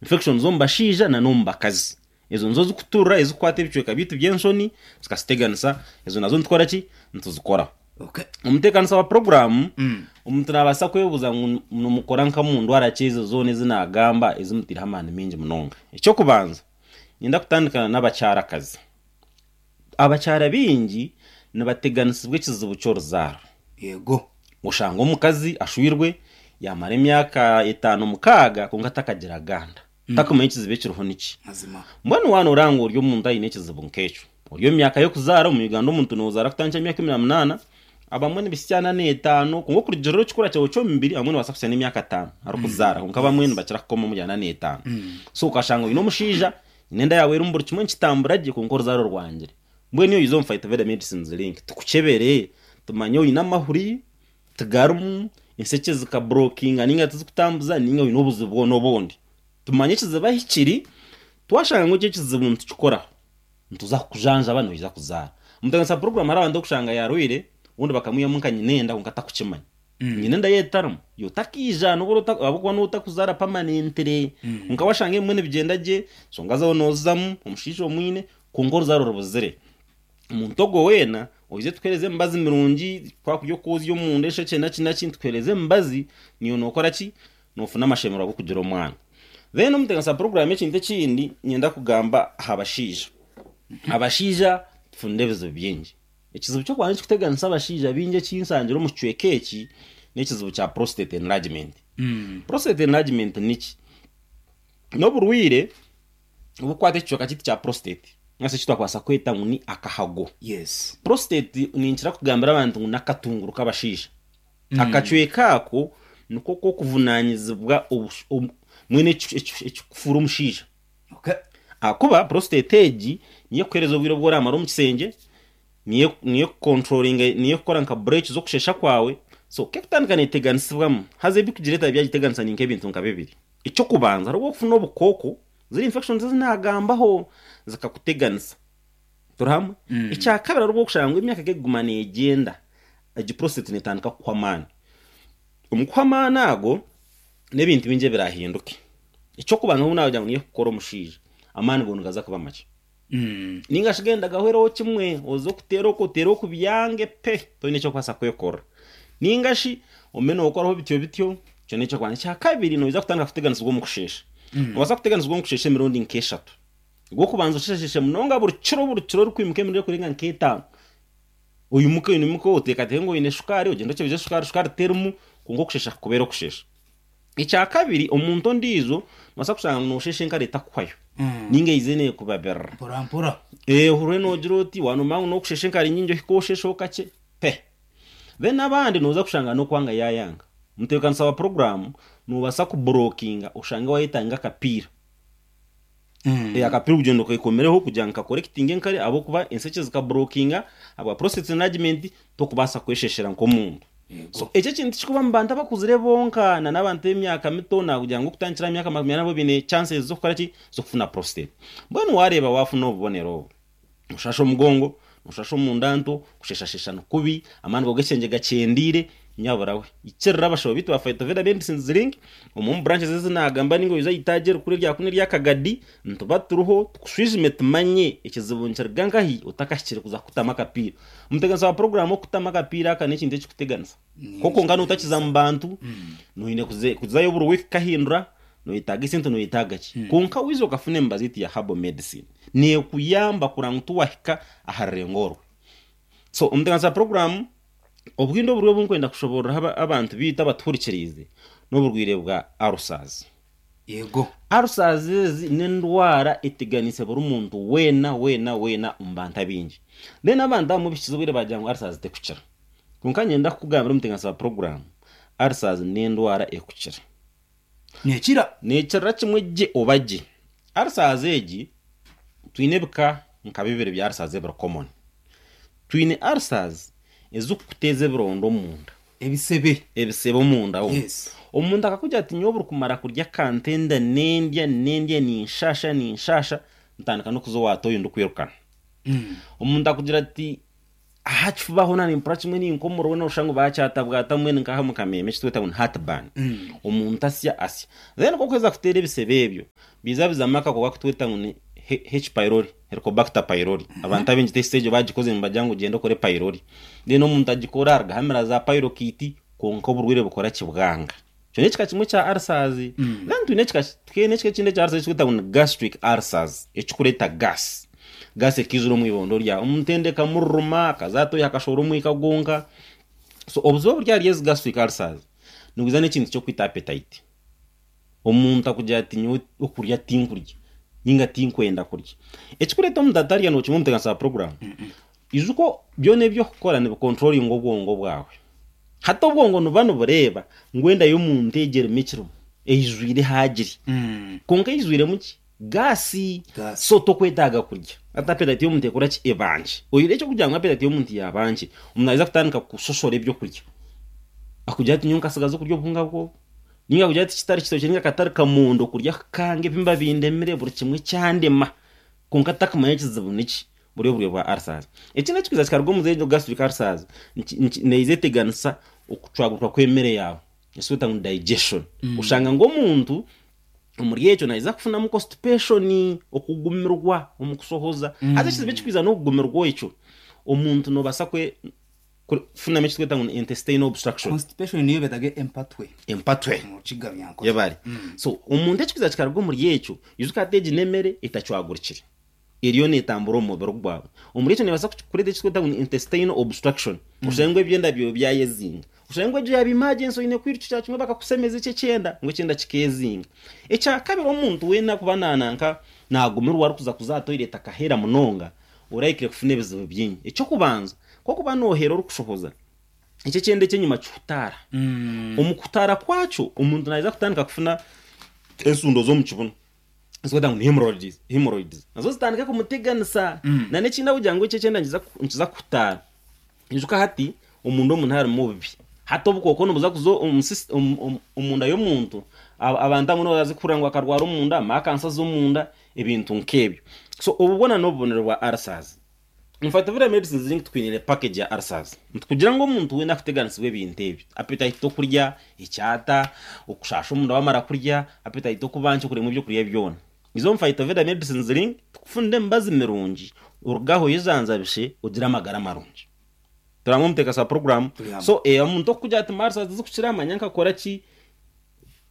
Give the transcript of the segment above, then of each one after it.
Infections omu bashaija na n'omu bakazi. Ezo nizo zikuturira ezikukwata ebicweka byaitu by'enshoni zikaziteganisa, ezo nazo nitukora ki? Nituzikoraho. Okay. Omuteekanisa wa puroguraamu, omuntu naabaasa kwebuuza ngu nimukora nka mu ndwara ki ezo zoona ezi naagamba ezi mutaireho amaani maingi munonga? Eky'okubanza, niinyenda kutandika n'abakyarakazi. Abakyara baingi nibateganisibwa ekizibu ky'oruzaaro. Yego. Oshanga omukazi ashwirwe yaamara emyaka etaano mukaaga kwonka atakagira ganda. Takumanya ekizibu ekiriho niki. Mazima. Mbwenu waaba nooreba ngu ori omuntu aine ekizibu nk'ekyo, ori omu myaka y'okuzaara, omu Uganda omuntu noozaara kutandikira aha myaka 18, abamwe nibahitsya ana n'etaano, kwonka okurugiirira ekikura kyawe ky'omubiri abamwe nibabaasa kuhitsya n'emyaka ataano arikuzaara, kwonka abamwe nibakira kukoma omuri ana n'etaano. So okashanga oine omushaija, nyine enda yaawe erimu buri kimwe nikitambura gye kwonka oruzaaro rwangire. Mbwenu iwe oize omu Phytoveda Medicines Link tukukyebere tumanye oine amahuri, tigarimu, enshekye zikaburokinga ninga tizikutambuza ninga oine obuzibu bwona obundi. Tumanye ekizibu ahi kiri, twashanga ngu eki ekizibu nitukikoraho, nituza kukujanjaba noija kuzaara. Omuteganisa puroguramu hariho abantu orikushanga yaarwaire obundi bakamwihamu nka nyina enda kwonka atakukimanya. Nyina enda ye etarimu, iwe otakiija nobu ahabw'okuba niiwe otakuzaara pamanentire. Kwonka washanga ebimwe nibigyenda gye, enshonga zaawe noozizamu, omushaija omwine, kwonka oruzaaro rubuzire. Omuntu ogwo weena oije tukuheereze emibazi mirungi, twakurya okwozya omunda eshekye naki naki, nitukuheereza emibazi, naiwe nookora ki? Noofuna amashemererwa g'okugira omwana. Then omuteganisa puroguraamu ekintu ekindi niinyenda kugamba aha bashaija. Abashaija tufunire ebizibu bingi. Ekizibu ky'okubanza ekirikuteganisa abashaija baingi eki nshangire omu kicweka eki n'ekizibu kya prostate enlargement. Prostate enlargement niki? N'oburwaire obukukwata ekicweka kyaitu kya prostate ninga shi eki twakubaasa kweta ngu ni akahago. Yes. Prostate ninkira kugambira abantu ngu n'akatunguru k'abashaija. Akacweka ako niko k'okuvunanyizibwa mbwenu ekikufuura omushaija. Okay. Ahakuba prostate egi niyo ekukuheereza obwire obu oramara omu kishengye, niyo niyo ekukontrolinga niyo ekukora nka bureeki z'okusheesha kwawe, so ku ekutandika neeteganisibwamu, haza ebikugireeta byagiteganisa ni nk'ebintu nka bibiri. Eky'okubanza hariho okufuna obukooko, ziri infections ezi naagambaho zikakuteganisa. Turi hamwe? Ekyakabiri hariho obu orikushanga ngu emyaka ku ekuguma neegyenda, egi prostate neetandika kukuhwa amaani. Omu kuhwa amaani ago, n'ebintu bingi ebiraahinduke. Eky'okubanza obu naagira ngu niyo ekukora omushaija, amaani gaawe nigaza kuba makye. Nainga shi genda gahwereho kimwe, oze okuteera oku oteere oku byange pe, toine eki orikubaasa kwekorera. Nainga shi ogume nookoraho bityo bityo, ekyo n'eky'okubanza. Ekyakabiri, noija kutandika kuteganisibwa omu kusheesha. Noobaasa kuteganisibwa omu kusheesha emirundi nk'eshatu. Ogw'okubanza osheesheshe munonga buri kiro buri kiro orikwimuka emirundi erikurenga nk'etaano. Oimuke oimuke oteekateeke ngu oine shukaari ogyende okyebeze shukaari, shukaari terimu kwonka okusheesha kukubeere okusheesha. Ekyakabiri omuntu ondiijo noobaasa kushanga ngu noosheesha enkari etakuhwayo ninga eize neekubabirira. Mpora mpora. Ohurire noogira oti waaba noomanya ngu n'okusheesha enkari nyingi ohike osheesheho kakye pe. Then abandi nooza kushanga n'okwanga yaayanga. Omutebeekanisa wa puroguraamu noobaasa kuburokinga oshange waayetanga akapiira. Akapiira ogyenda okekomereho kugira ngu kakorekitinge enkari ahabw'okuba enshekye zikaburokinga ahabwa prostate enlargement tokubaasa kwesheshera nk'omuntu. So ekyo ekintu tikikuba omu bantu abakuzire bonka na n'abantu b'emyaka mito nakugira ngu okutandikira aha myaka 40 nabo baine chances z'okukora ki? Z'okufuna prostate. Mbwenu wareeba wafuna obubonero obu, noshasha omugongo, noshasha omunda nto, kusheshashesha nikubi, amaani gawe g'ekyengye gakyendeire, nyabura we ikirira abashaho baitu ba Phytoveda Medicines Link omwe omu branches ezi nagamba ninga oije aha itaagi erikuru erya kunu erya Kagadi nituba turiho tukushwijume tumanye ekizibu nikiruga nkahi otakahikire kuza kukutamu akapiira. Omuteganisa wa puroguramu okukutamu akapiira aka n'ekintu ekikuteganisa kwonka notakiza mu bantu noine kuzayo buri wiiki kukahindura noyetaaga esente noyetaaga ki kwonka waija okafuna emibazi yaitu ya herbal medicine nekuyamba kureba ngu tiwahika aha rurengo orwo. So omuteganisa wa puroguramu Obundi oburwaire obu ndikwenda kushoboorora abantu baitu abatuhurikiriize n'oburwaire bwa ulcers. Yego. Ulcers ezi n'endwara eteganiise buri muntu weena weena weena omu bantu abaingi. Then abantu abamwe bihikize obwire baagira ngu ulcers tekukira. Kwonka niinyenda kukugambira omuteganisa wa puroguraamu, ulcers n'endwara ekukira. Neekira. Neekirira kimwe gye oba gye. Ulcers egi, twine ebika nka bibiri bya ulcers ebiri common. Twine ulcers ezirikukuteeza ebironda omunda. Ebisebe. Ebisebe omunda omwo. Yes. Omuntu akakugira ati nyowe buri kumara kurya akantenda nendya nendya ninshasha ninshasha ntandika n'okuza owa toyi ndikwirukana. Omuntu akugira ati. Aha kifuba hoona nimpurira kimwe ninkomorora nooshusha ngu baakyatabwata mbwenu nk'aha omu kameeme eki tweta ngu ni heartburn. Omuntu asya asya. Then ku orikuheza kuteera ebisebe ebyo, biiza bizamu akakooko aku tweta ngu ni H pylori, Helicobacter pylori. Abantu abaingi test egyo baagikoze nibagira ngu gyenda okore pylori. Then omuntu agikora arugaho amira za pylokit kwonka oburwaire bukora ki? Bwanga. Ekyo n'ekika kimwe kya ulcers. Then twine ekika twine ekika ekindi ekya ulcers eki tweta ngu ni gastric ulcers, ekirikureeta gas. Gas ekaijura omu ibondo ryawe. Omuntu enda ekamururuma, akaza aha toyi akashohora omwika gwonka. So obuzibu oburi ahari ezi gastric ulcers, nibwija n'ekintu ky'okwita appetite. Omuntu akugira ati nyowe okurya tinkurya ninga tinkwenda kurya. Ekirikureeta omuntu atarya nookimanya omutebeekanisa wa puroguraamu, ijuka byona ebi orikukora nibikonturoringa obwongo bwawe. Hati obwongo nibuba nibureeba ngu enda y'omuntu egi erimu ekirimu, eijwire ehaagire. Kwonka eijwiremu ki? Gaasi. Gaasi. So tokwetaaga kurya. Hati appetite y'omuntu ekora ki? Eba nkye. Oihireho eky'okugira ngu appetite y'omuntu yaaba nkye, omuntu naija kutandika kushoshora eby'okurya. Akugira ati nyowe nkasigaza okurya obuhunga bw'obu. Ninga kugira ati kitari kitookye ninga katari kamondo kurya kukanga ebimba bindemire buri kimwe kyandema. Kwonka takumanya ekizibu niki. Buri oburyo bwa ulcers. Ekindi ekikwiza kikaruga omu z'egyo gastric ulcers, neija eteganisa okucwagurwa kw'emere yaawe. Eki tweta ngu ni digestion. Oshanga ngu omuntu omuri ekyo naija kufunamu constipation, okugumirwa omu kushohoza. Haza ekizibu ekikwiza n'okugumirwa ekyo, omuntu noobaasa kwe kufunamu eki tweta ngu ni intestinal obstruction. Constipation niyo beetaga empatwe. Empatwe. Omu Rukiga Runyankore. Yebare. So omuntu ekikwiza kikaruga omuri ekyo, ijuka hati egi n'emere etacwagurikire. Eriyo neetambura omu mubiri gwawe. Omuri ekyo neebaasa kureeta eki turikweta ngu ni intestinal obstruction. Oshange ngu ebyenda byawe byayezinga. Oshange ngu egyo yaaba emergency oine kwirukira kimwe bakakushemeza ekyo ekyenda, ngu ekyenda kikeezinga. Ekya kabiri omuntu weena kuba nananka naagumirwa arikuza kuza aha toilet akahera munonga, orahikire kufuna ebizibu bingi. Eky'okubanza, ku orikuba noohera orikushohoza, ekyo ekyenda eky'enyima kihutaara. Omu kuhutaara kwakyo, omuntu naija kutandika kufuna ensundo z'omu kibunu. Ezikwetwa ngu ni hemorrhoids, hemorrhoids. Nazo zitandike kumuteganisa. Na n'ekindi ahabw'okugira ngu ekyo ekyenda nikiza nikiza kuhutaara. Ijuka hati omunda omuntu harimu obubi. Hati obukooko nibuza kuza omu sys omu omu omunda y'omuntu, abantu abamwe nibabaasa kuhurira ngu akarwara omunda, amakansa z'omunda, ebintu nk'ebyo. So obu bwona n'obubonero bwa ulcers. Infact Medicines Link tukwiniire package ya ulcers. Nitukugira ngu omuntu weena akuteganisibwa ebintu ebi, appetite okurya, ekyata, okushasha omunda wamara kurya, appetite okuba nkye okuremwa ebyokurya byona. Iza omu Phytoveda Medicines Link tukufunire emibazi mirungi oruge aho oyejanjabishe ogire amagara marungi. Turi hamwe omuteekasi wa puroguraamu. Turi hamwe. So omuntu okukugira ati ulcers tizikukira manya nkakora ki,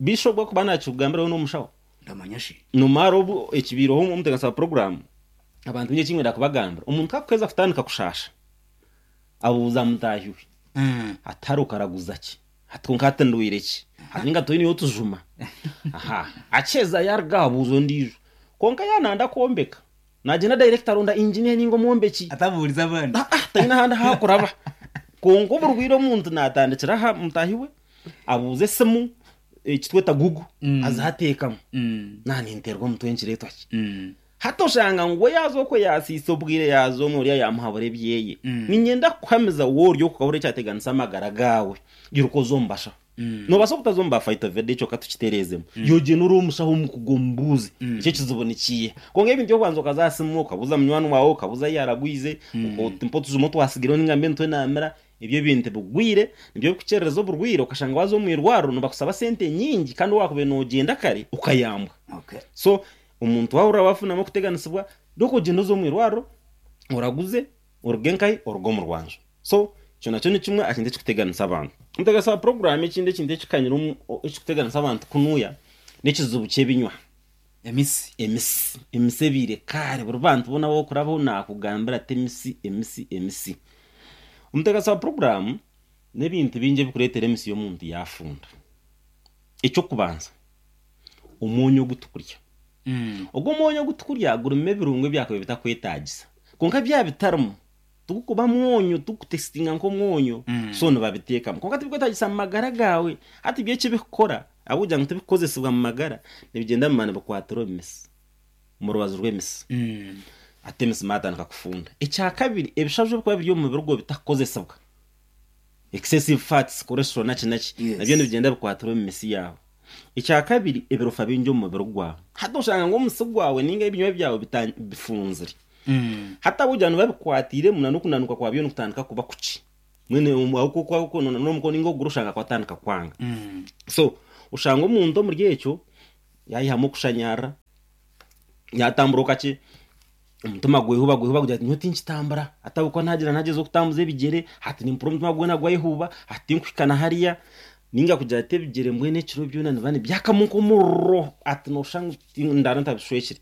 Bishop akuba nakikugambira we n'omushaho. Ndamanya shi. Nomara obu ekibaireho omuteekasi wa puroguraamu, abantu baingi eki nkwenda kubagambira, omuntu ku akuheza kutandika kushaasha, abuuza mutaahi we, ati hare okaraguza ki? Ati kwonka hati ndwaire ki? Ati ninga toineyo otujuma? Aha, akiheza yaruga aho abuuza ondiijo. Kwonka yaaba nayenda kwombeka, Nagyenda direct aronda engineer ninga omwombeki. Atabuurize abandi. Ah ah taine ahandi ahu akuraba. Kwonka oburwaire omuntu natandikira aha mutaahi we, abuuza esimu, eki tweta google, aza ateekamu. Naaba ninteerwa omutwe nikireetwa ki? Hati oshanga ngu we yaaza okwe yaasiisa obwire yaaza omwe oriya yaamuhabura ebyeye. Niinyenda kukuhamiza waaba ori okwo okahurira ekyateganisa amagara gaawe, iruka oze omu bashaho. Noobaasa obutaza omu ba Phytoveda ekyo ka tukitereezemu. Yoogyenda ori omushaho omukugu omubuuze ekyo ekizibu nikiiha. Kwonka ebintu by'okubanza okaza aha simu okabuuza munywani waawe, okabuuza ahu yaaragwize, oti mpa otujuma otwatsigireho ninga mbe nitwe naamira, ebyo ebintu bigwire nibyo birikukyerereza oburwaire okashanga waaza omu irwariro nibakusaba sente nyingi kandi waakubaire noogyenda kare okayambwa. So omuntu waahurira waafunamu okuteganisibwa, reka ogyende oze omu irwariro oraguze. Oruge nkahi? Oruge omu rwanju. So, ekyo nakyo ni kimwe aha kintu ekirikuteganisa abantu. Omuteganisa wa puroguraamu ekindi ekintu ekikanyire omu ekirikuteganisa abantu kunuya n'ekizibu ky'ebinywa. Emisi. Emisi. Emisi ebaire kare buri bantu boona abu orikurabaho naakugambira ati emisi, emisi, emisi. Omuteganisa wa puroguraamu n'ebintu bingi ebirikureetera emisi y'omuntu yaafunda. Eky'okubanza, omwonyo ogu turikurya. Ogwo omwonyo ogu turikurya gurimu ebirungo ebyakabaire bitakwetaagisa. Kwonka byaba bitarimu, tigukuba mwonyo, tigukutesitinga nk'omwonyo, so nibabiteekamu. Kwonka tibikwetaagisa mu magara gaawe. Hati byo eki birikukora, ahabw'okugira ngu tibikukozesibwa mu magara, nibigyenda bimara nibikwatira omu misi, omu rubaju rw'emisi. Hati emisi maatandika kufunda. Ekyakabiri, ebishaju ebirikuba biri omu mubiri gwawe bitakukozesibwa, excessive fats, cholesterol naki naki, nabyo nibigyenda bikwatira omu misi yaawe. Ekyakabiri, ebirofa bingi omu mubiri gwawe. Hati oshanga ngu omusi gwawe ninga ebinywa byawe bifunzire. Hati ahabw'okugira ngu nibabikwatiiremu na n'okunanuka kwabyo nikutandika kuba kukye. Mbwenu ahu ku ahu kunanura omukono ninga okuguru oshanga kwatandika kwanga. So oshanga omuntu omuri ekyo yaihamu okushanyarara, yatambura okakye, omutima gwehuba gwehuba gugira guti nyowe tinkitambura, hati ahabw'okuba nagira nagyezaho okutambuza ebigyere, hati nimpurira omutima gwona gwehuba, hati tinkuhika na hariya, ninga kugira ati ebigyere mbwenu ekiro byona nibiba nibyakamu nk'omuriro, hati noshusha ngu ndaara ntabishwekire.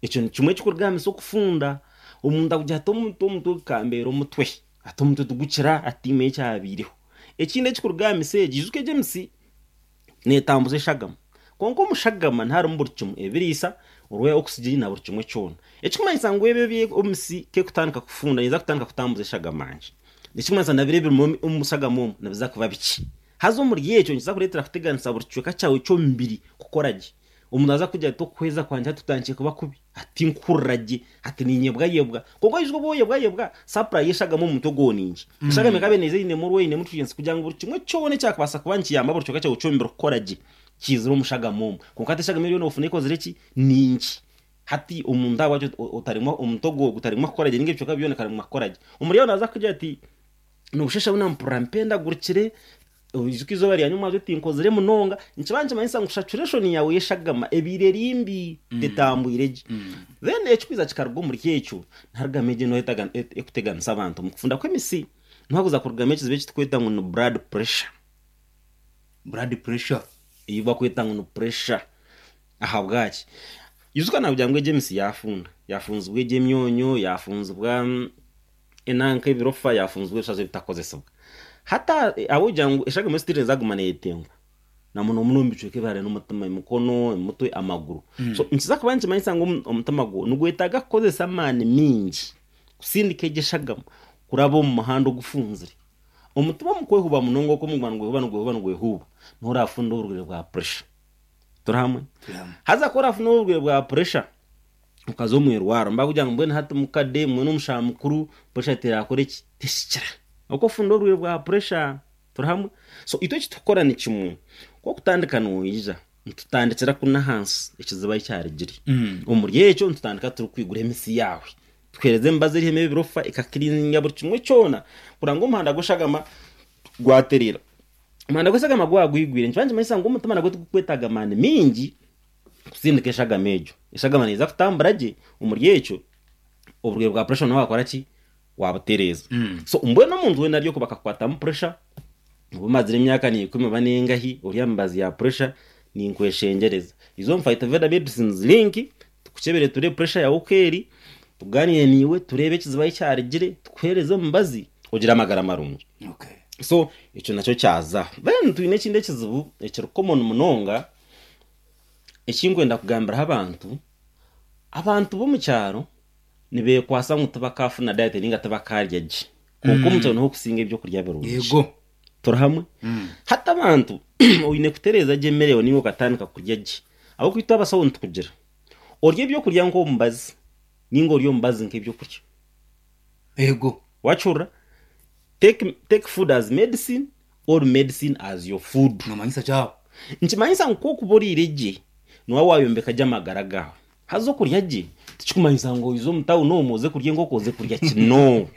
Ekyo ni kimwe ekirikurugaanisa okufunda, omuntu akugira ati omutwe omutwe gukambeera omutwe, ati omutwe tigukira ati tiimanya ekyabaireho. Ekindi ekirikurugaanisa egi, ijuka egi emisi neetambuza eshagama, kwonka omu shagama niharimu buri kimwe, ebiriisa, orwa oxygen na buri kimwe kyona. Ekirikumanyisa ngu ebyo ebi emisi ku erikutandika kufunda neeza kutandika kutambuza eshagama nkye. Ekirikumanyisa na biri ebirimu omu shagama omu nibiza kuba bikye. Haza omuri ekyo nikiza kureetera kuteganisa buri kicweka kyawe ky'omubiri kukora gye. Omuntu naaza kugira ati okuhweza kwangye hati kutandikire kuba kubi, hati tinkuhurira gye, hati niinyebwayebwa. Kwonka oijuka obu oyebwayebwa, supply y'eshagama omu mutwe gwawe ni nkye. Eshagama ekaba neeza einemu orwo einemu nutrients kugira ngu buri kimwe kyona ekyakubaasa kuba nikiyamba buri kicweka kyawe ky'omubiri kukora gye, kiizire omu shagama omwo. Kwonka hati eshagama eriyo noofuna ekozire ki? Ni nkye. Hati omuntu ahabwaki otaremwa omutwe gwawe gutaremwa kukora gye ninga ebicweka byona bikaremwa kukora gye. Omuri aho naaza kukugira ati nooshusha ngu nampurira mpendagurikire, Oijuke eizooba rya nyomwabyo tinkozire munonga, nikiba nikimanyisa ngu saturation yaawe y'eshagama ebaire eri mbi, tetambwire gye. Then ekirikwija kikaruga omuri ekyo, niharugamu egyo endwara erikuteganisa abantu omu kufunda kw'emisi. Niho harikuza kurugamu ekizibu eki turikweta ngu ni blood pressure. Blood pressure. Ei barikweta ngu ni pressure. Ahabwaki? Ijuka naakugira ngu egyo emisi yaafunda, yaafunzibwa egyo emyonyo, yaafunzibwa enanka ebirofa yafunzibwa ebishazo ebitakukozesibwa. Hati ahabw'okugira ngu eshagama esitiri nezaguma neyetengwa na muno muno omu bicweka ebihare n'omutima, emikono, emutwe, amaguru. So nikiza kuba nikimanyisa ngu omutima gwo nigwetaaga kukozesa amaani mingi kusindika egyo eshagama kuraba omu muhanda ogufunzire. Omutima omu kwehuba munonga oku niguba nigwehuba nigwehuba nigwehuba niho orafunda oburwaire bwa pressure. Turi hamwe? Turi hamwe. Haza ku orafuna oburwaire bwa pressure okaza omu irwariro nibakugira ngu mbwenu hati mukade mbwenu omushaho mukuru puresha terakora ki tekikira oku ofunda oburwaire bwa puresha turi hamwe so itwe eki turikukora ni kimwe ku okutandika noija nitutandikira kunu ahansi ekizibu ahi kyarugire omuri ekyo nitutandika turikwigura emisi yaawe tukuheereza emibazi eriho ebirofa ekakirininga buri kimwe kyona kureba ngu omuhanda gw'eshagama gwatereera omuhanda gw'eshagama gwaba gwigwire nikiba nikimanyisa ngu omutima nagwo tigukwetaaga amaani maingi kusindika eshagama egyo. Eshagama neeza kutambura gye omuri ekyo, oburwaire bwa pressure nawe wakora ki? Wabutereeza. So mbwenu omuntu weena ari okwo bakakukwatamu pressure, oba omazire emyaka niikumi oba nengahi ori aha mibazi ya pressure, ninkweshengyereza iza omu Phytoveda Medicines Link tukukyebere tureebe pressure yaawe oku eri, tugaaniire naiwe tureebe ekizibu ahi kyarugire, tukuheereze omubazi ogire amagara marungi. Okay. So ekyo nakyo kyazaho. Then twine ekindi ekizibu ekiri common munonga, Eki nkwenda kugambiraho abantu, abantu b'omu kyaro nibeekwasa ngu tibakaafuna diet ninga tibakaarya gye. Kwonka omu kyaro niho orikusinga ebyokurya birungi. Yego. Turi hamwe? Hati abantu oine kutereeza gye emere yaawe ninga okatandika kurya gye. Ahabw'okuba itwe abasaho nitukugira, orye ebyokurya nk'omubazi ninga orye omubazi nk'ebyokurya. Yego. Waakihurira? Take, take food as medicine or medicine as your food. Nomanyisa ki aho? Nikimanyisa ngu ku okuba oriire gye, niiwe waayombeka gye amagara gaawe. Haza okurya gye tikikumanyisa ngu oize omu tawuni omu oze kurya enkoko oze kurya ki. No.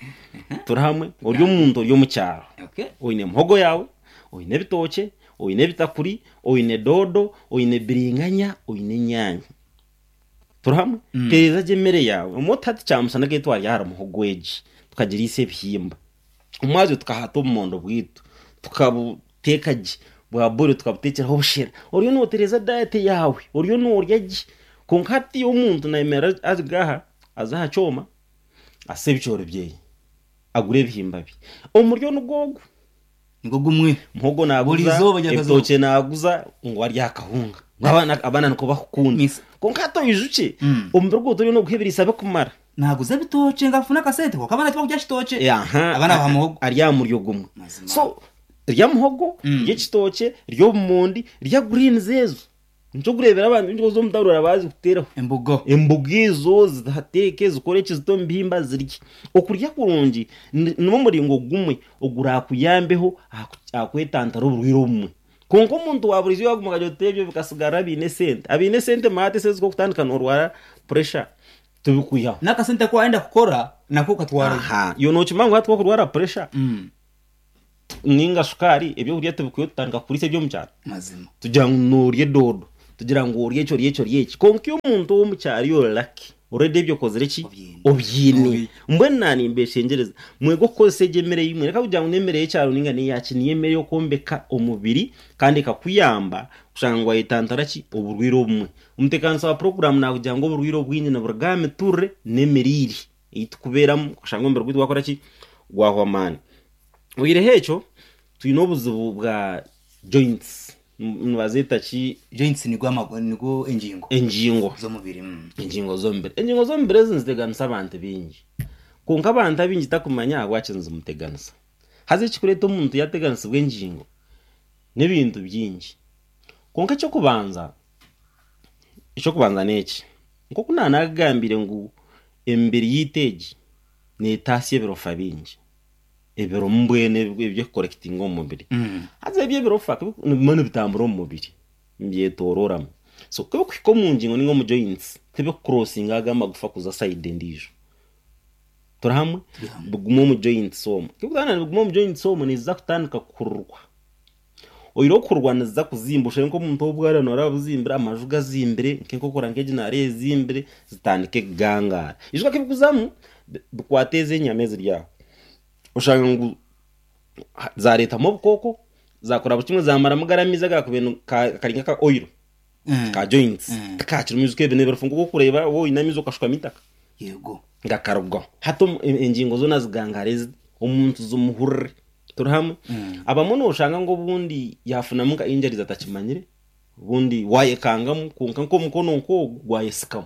Turi hamwe? Ori omuntu ori omu kyaro, Okay. oine muhogo yaawe, oine ebitookye, oine ebitakuri, oine doodo, oine biringanya, oine enyaanya. Turi hamwe? Tereeza gye emere yaawe. Obumwe oti hati kyamushana ku twarya ahari muhogo egi, tukagiriisa ebihimba. Omwazyo tukahata obumondo bwaitu, tukabuteeka gye, bwa boilo tukabuteekyeraho obushera. Oriyo nootereeza diet yaawe, oriyo noorya gye. Kwonka hati omuntu naayemerera aruga aha, aze aha kyoma, ase ebicoori byeye, agure ebihimba bye. Omuryo nigwo ogwo. Nigwo gumwe. Muhogo Buri naaguza, izooba ryakazoba. ebitookye naaguza, ngu arye aha kahunga. Ngu abaana abaana nikwo bakukunda. Misa. Kwonka hati oijukye, omubiri gwawe toriyo nooguha ebiriisa birikumara. Naaguza ebitookye ngu afune akasente kwonka abaana tibakurya kitookye. Aha, Abaana baha muhogo. Ari aha muryo gumwe. Mazima. So rya muhogo, rya ekitookye, rya obumondi, rya greens ezo. Nikyo orikureebera abantu baingi oza omu tawuni oraba zikuteeraho. Embogo. Emboga ezo ziteeke zikore eki zite omu bihimba zirye. Okurya kurungi nigwo muringo gumwe oguraakuyambeho aha kwetantara oburwaire obumwe. Kwonka omuntu wa buriijo yaaguma akagira oti ebyo bikatsigarira abaine esente. Abaine esente maate esente zikokutandika noorwara puresha. Tibikwihaho. N'akasente aku waayenda kukora nako okatwarayo. Aha, iwe nookimanya ngu hati wakurwara puresha ninga shukaari, ebyokurya tibikwihaho tutandika kukuriisa eby'omu kyaro? Mazima. Tugira ngu noorya edoodo, tugira ngu orye eki orye eki orye eki. Kwonka iwe omuntu ow'omu kyaro iwe ori lucky, already ebyo okozire ki? Obyine. Obyine. Obi. Mbwenu naanimbeshengyereza, mwege okukozesa egyo emere ei mwine. Reka kugira ngu n'emere y'ekyaro ninga n'eya ki, niyo emere ey'okwombeka omubiri kandi ekakuyamba kushanga ngu waayetantara ki? Oburwaire obumwe. Omuteekaanisa wa puroguraamu naakugira ngu oburwaire obwingi niburuga aha miturire n'emiriire ei turikubeeramu okashanga omubiri gwaitu gwakora ki? Gwahwa amaani. Oihireho ekyo, twine obuzibu bwa joints, nibazeeta ki? Joints nigo amagu nigo engingo Engingo. z'omubiri. Engingo z'omubiri. Engingo z'omubiri ezi niziteganisa abantu baingi. Kwonka abantu abaingi takumanya ahabwaki nizimuteganisa. Haza ekirikureeta omuntu yaateganisibwa engingo n'ebintu bingi. Kwonka eky'okubanza, eky'okubanza n'eki, nk'oku naanagambire ngu emibiri yaitu egi neetaasya ebirofa bingi, ebirimu mbwenu eby'okukorekitinga omu mubiri. Haza ebyo ebirofa ku nibiguma nibitambura omu mubiri, nibyetoorooramu. So ku birikuhika omu ngingo nainga omu joints, tibikukurosinga ago amagufa kuza sayidi endiijo. Turi hamwe? Biguma omu joints omwo. Ku birikutandika nibiguma omu joints omwo, niziza kutandika kuhururwa. Oine okurwa niziza kuzimba oshange nk'omuntu ow'obwara noreeba buzimbire amaju gazimbire nk'enkokora nk'egi nareeba ezimbire zitandike kugangaara. Ijuka ku ebikuzamu bikwata ezi enyama eziri aho oshanga ngu zareetamu obukooko zakora buri kimwe zamaramu gari amaizi agakubaire kari nk'aka oil ka joints tikakirimu ijuka ebi n'ebirofu nk'oku orikureeba waaba oine amaizi okashukamu eitaka. Yego. Gakarugaho. Hati engingo zoona zigangaara ezi omuntu zimuhurire. Turi hamwe? Abamwe noshanga ngu obundi yafunamu nka injuries atakimanyire, obundi wayekangamu kwonka nk'omukono nk'ogu gwayesikamu.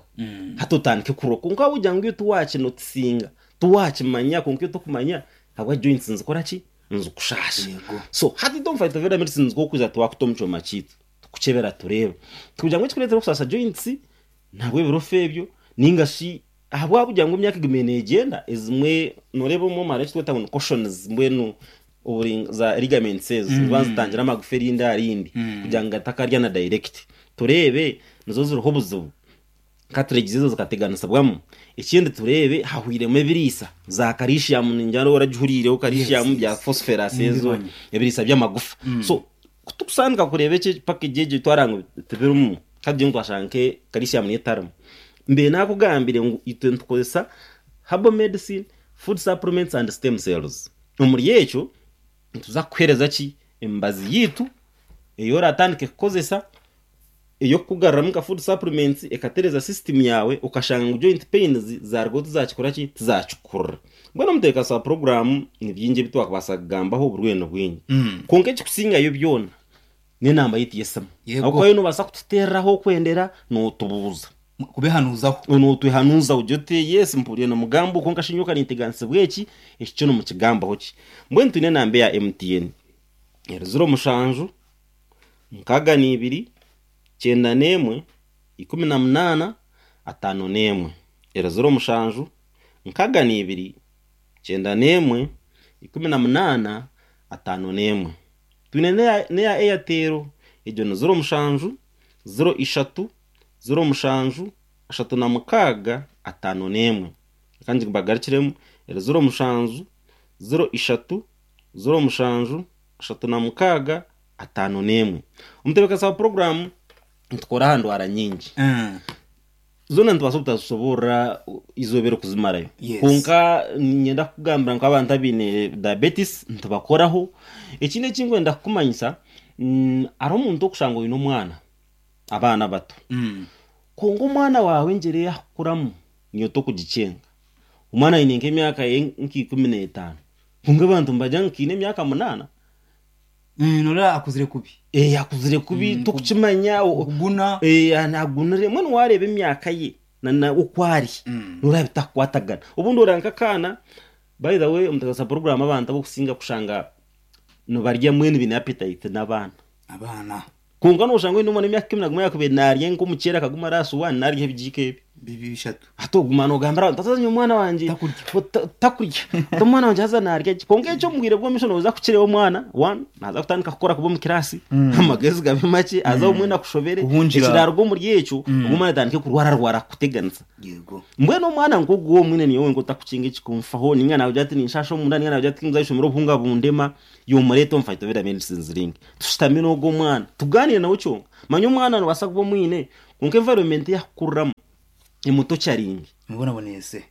Hati otandike kurwa kwonka wagira ngu iwe tiwakinotisinga, tiwakimanya kwonka iwe tokumanya ahabwa joints nizikora ki? Nizikushasha. Yego. So hati itwe omu Phytoveda medicine nitwokwija twakuta omu kyoma kyaitu tukukyebera tureebe. Tikugira ngu ekikureetera okusaasa joints nahabw'ebirofa ebyo ninga shi Ahabw'okugira ngu emyaka egumiire neegyenda, ezimwe nooreeba omwe hariho eki turikweta ngu ni cautions mbwenu oburi za ligaments ezo niziba nizitangira amagufa erindi aha rindi kugira ngu gatakarya na direct. Tureebe nizo ziriho obuzibu, cartilages ezo zikateganisibwamu. Ekindi tureebe hahwiremu ebiriisa, za calcium ningira nooba oragihuriireho calcium bya phosphorus ezo ebiriisa by'amagufa. So ku tukusandika kureeba eki package egyo twareeba ngu tibirimu, ka tugire ngu twashanga nke calcium niyo etarimu. Mbaire naakugambire ngu itwe nitukozesa herbal medicine, food supplements and stem cells. Omuri ekyo nituza kukuheereza ki? Emibazi yaitu ei oratandike kukozesa ey'okukugaruramu nka food supplements ekatereeza system yaawe okashanga ngu joint pains zaarugaho tizakikora ki? Tizakikukurira. Mbwenu omuteekateesi wa puroguraamu ni bingi ebi twakubaasa kugambaho oburwaire ni bwingi. Kwonka ekikusingayo byona N'enamba yaitu y'esimu. Yego. Ahabw'okuba iwe noobaasa kututeerera ahu okwendera nootubuuza. Kubehanuuzaho. Nootwehanuuza ogire oti, Yes, mpuriire nimugamba oku, kwonka shi nyowe ka ninteganisibwa eki, eki kyo nimukigambaho ki? Mbwenu twine enamba eya MTN, eri ziro mushanju, mukaaga n'ibiri, kyenda n'emwe, 18, 51. Eri ziro mushanju, nkaaga n'ibiri, kyenda n'emwe, 18, 51. Twine n'eya Airtel, egyo ni ziro mushanju, ziro ishatu, ziro mushanju, ashatu na mukaaga, ataano n'emwe. Reka ngibagarukiremu, eri ziro mushanju, ziro ishatu, ziro mushanju, ashatu na mukaaga, ataano n'emwe. Omutebeekanisa wa puroguraamu nitukora aha ndwara nyingi. Zoona nitubaasa obutazishoboorora eizooba erikuzimarayo. Yes. Kwonka niinyenda kukugambira ngu abantu abaine diabetes nitubakoraho. Ekindi eki ndikwenda kukumanyisa, hariho omuntu orikushanga oine omwana, abaana bato, kwonka omwana waawe engyera ei arikukuramu niiwe torikugikyenga. Omwana aine nk'emyaka ye nka 15 kwonka abantu nibagira ngu kaine emyaka munaana. Noreeba akuzire kubi. Eh, akuzire kubi tokukimanya Okuguna. Eh, nagunire mbwenu wareeba emyaka ye na na oku ari noreeba bitakukwatagana obundi oreeba nk'akaana by the way omuteganisa program abantu abokusinga kushanga nibarya mbwenu baine appetite n'abaana Abaana. kwonka noshanga oine omwana w'emyaka 11 yakubaire narya nk'omuceeri akaguma ari aha suwaani narya ebigiiko ebi. Bishatu. Hati oguma noogambira abantu, haza nyowe omwana wangye Takurya. Takurya. Hati omwana wangye haza naarya gye. Kwonka ekyo omu bwire bw'omu maisho nooza kukireeba omwana, one, naaza kutandika kukora kubi omu kiraasi, amagezi gabe makye, aze obumwe nakushobere. Kuhungira. Ekiraaruga omuri ekyo, ogwo omwana atandike kurwararwara kukuteganisa. Yego. Mbwenu omwana nk'ogwo omwine niiwe wenka otakukinga ekikunfaho, ninga naagira ati ninshaasha omunda, ninga naagira ati ninza aha ishomero obuhunga bundema, iwe omureete omu Phytoveda Medicines Link. Tushutame n'ogwo omwana, tugaaniire nawe kyonka. Manya omwana noobaasa kuba omwine, kwonka environment ei arikukuriramu emutocharinge. Mubonabonese.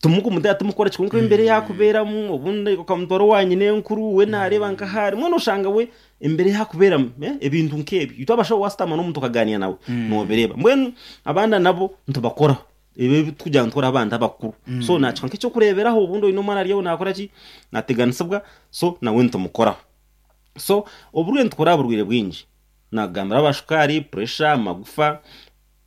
Timukumuteera timukukora ki, kwonka embeera ei arikubeeramu, obundi okamutwara owa nyinenkuru, we naareeba nk'ahu ari, mbwenu oshanga we embera ei arikubeeramu, ebintu nk'ebyo. Itwe abashaho waashutama n'omuntu okaganiira nawe, noobireeba. Mbwenu abaana nabo nitubakoraho ebi ebi turikugira ngu nitukoraho abantu abakuru. So naakikuha nk'eky'okureeberaho, obundi oine omwana ari aho naakora ki, naateganisibwa, so nawe nitumukoraho. So oburwaire nitukora aha burwaire bwingi, naakugambira aba shukaari, puresha, amagufa,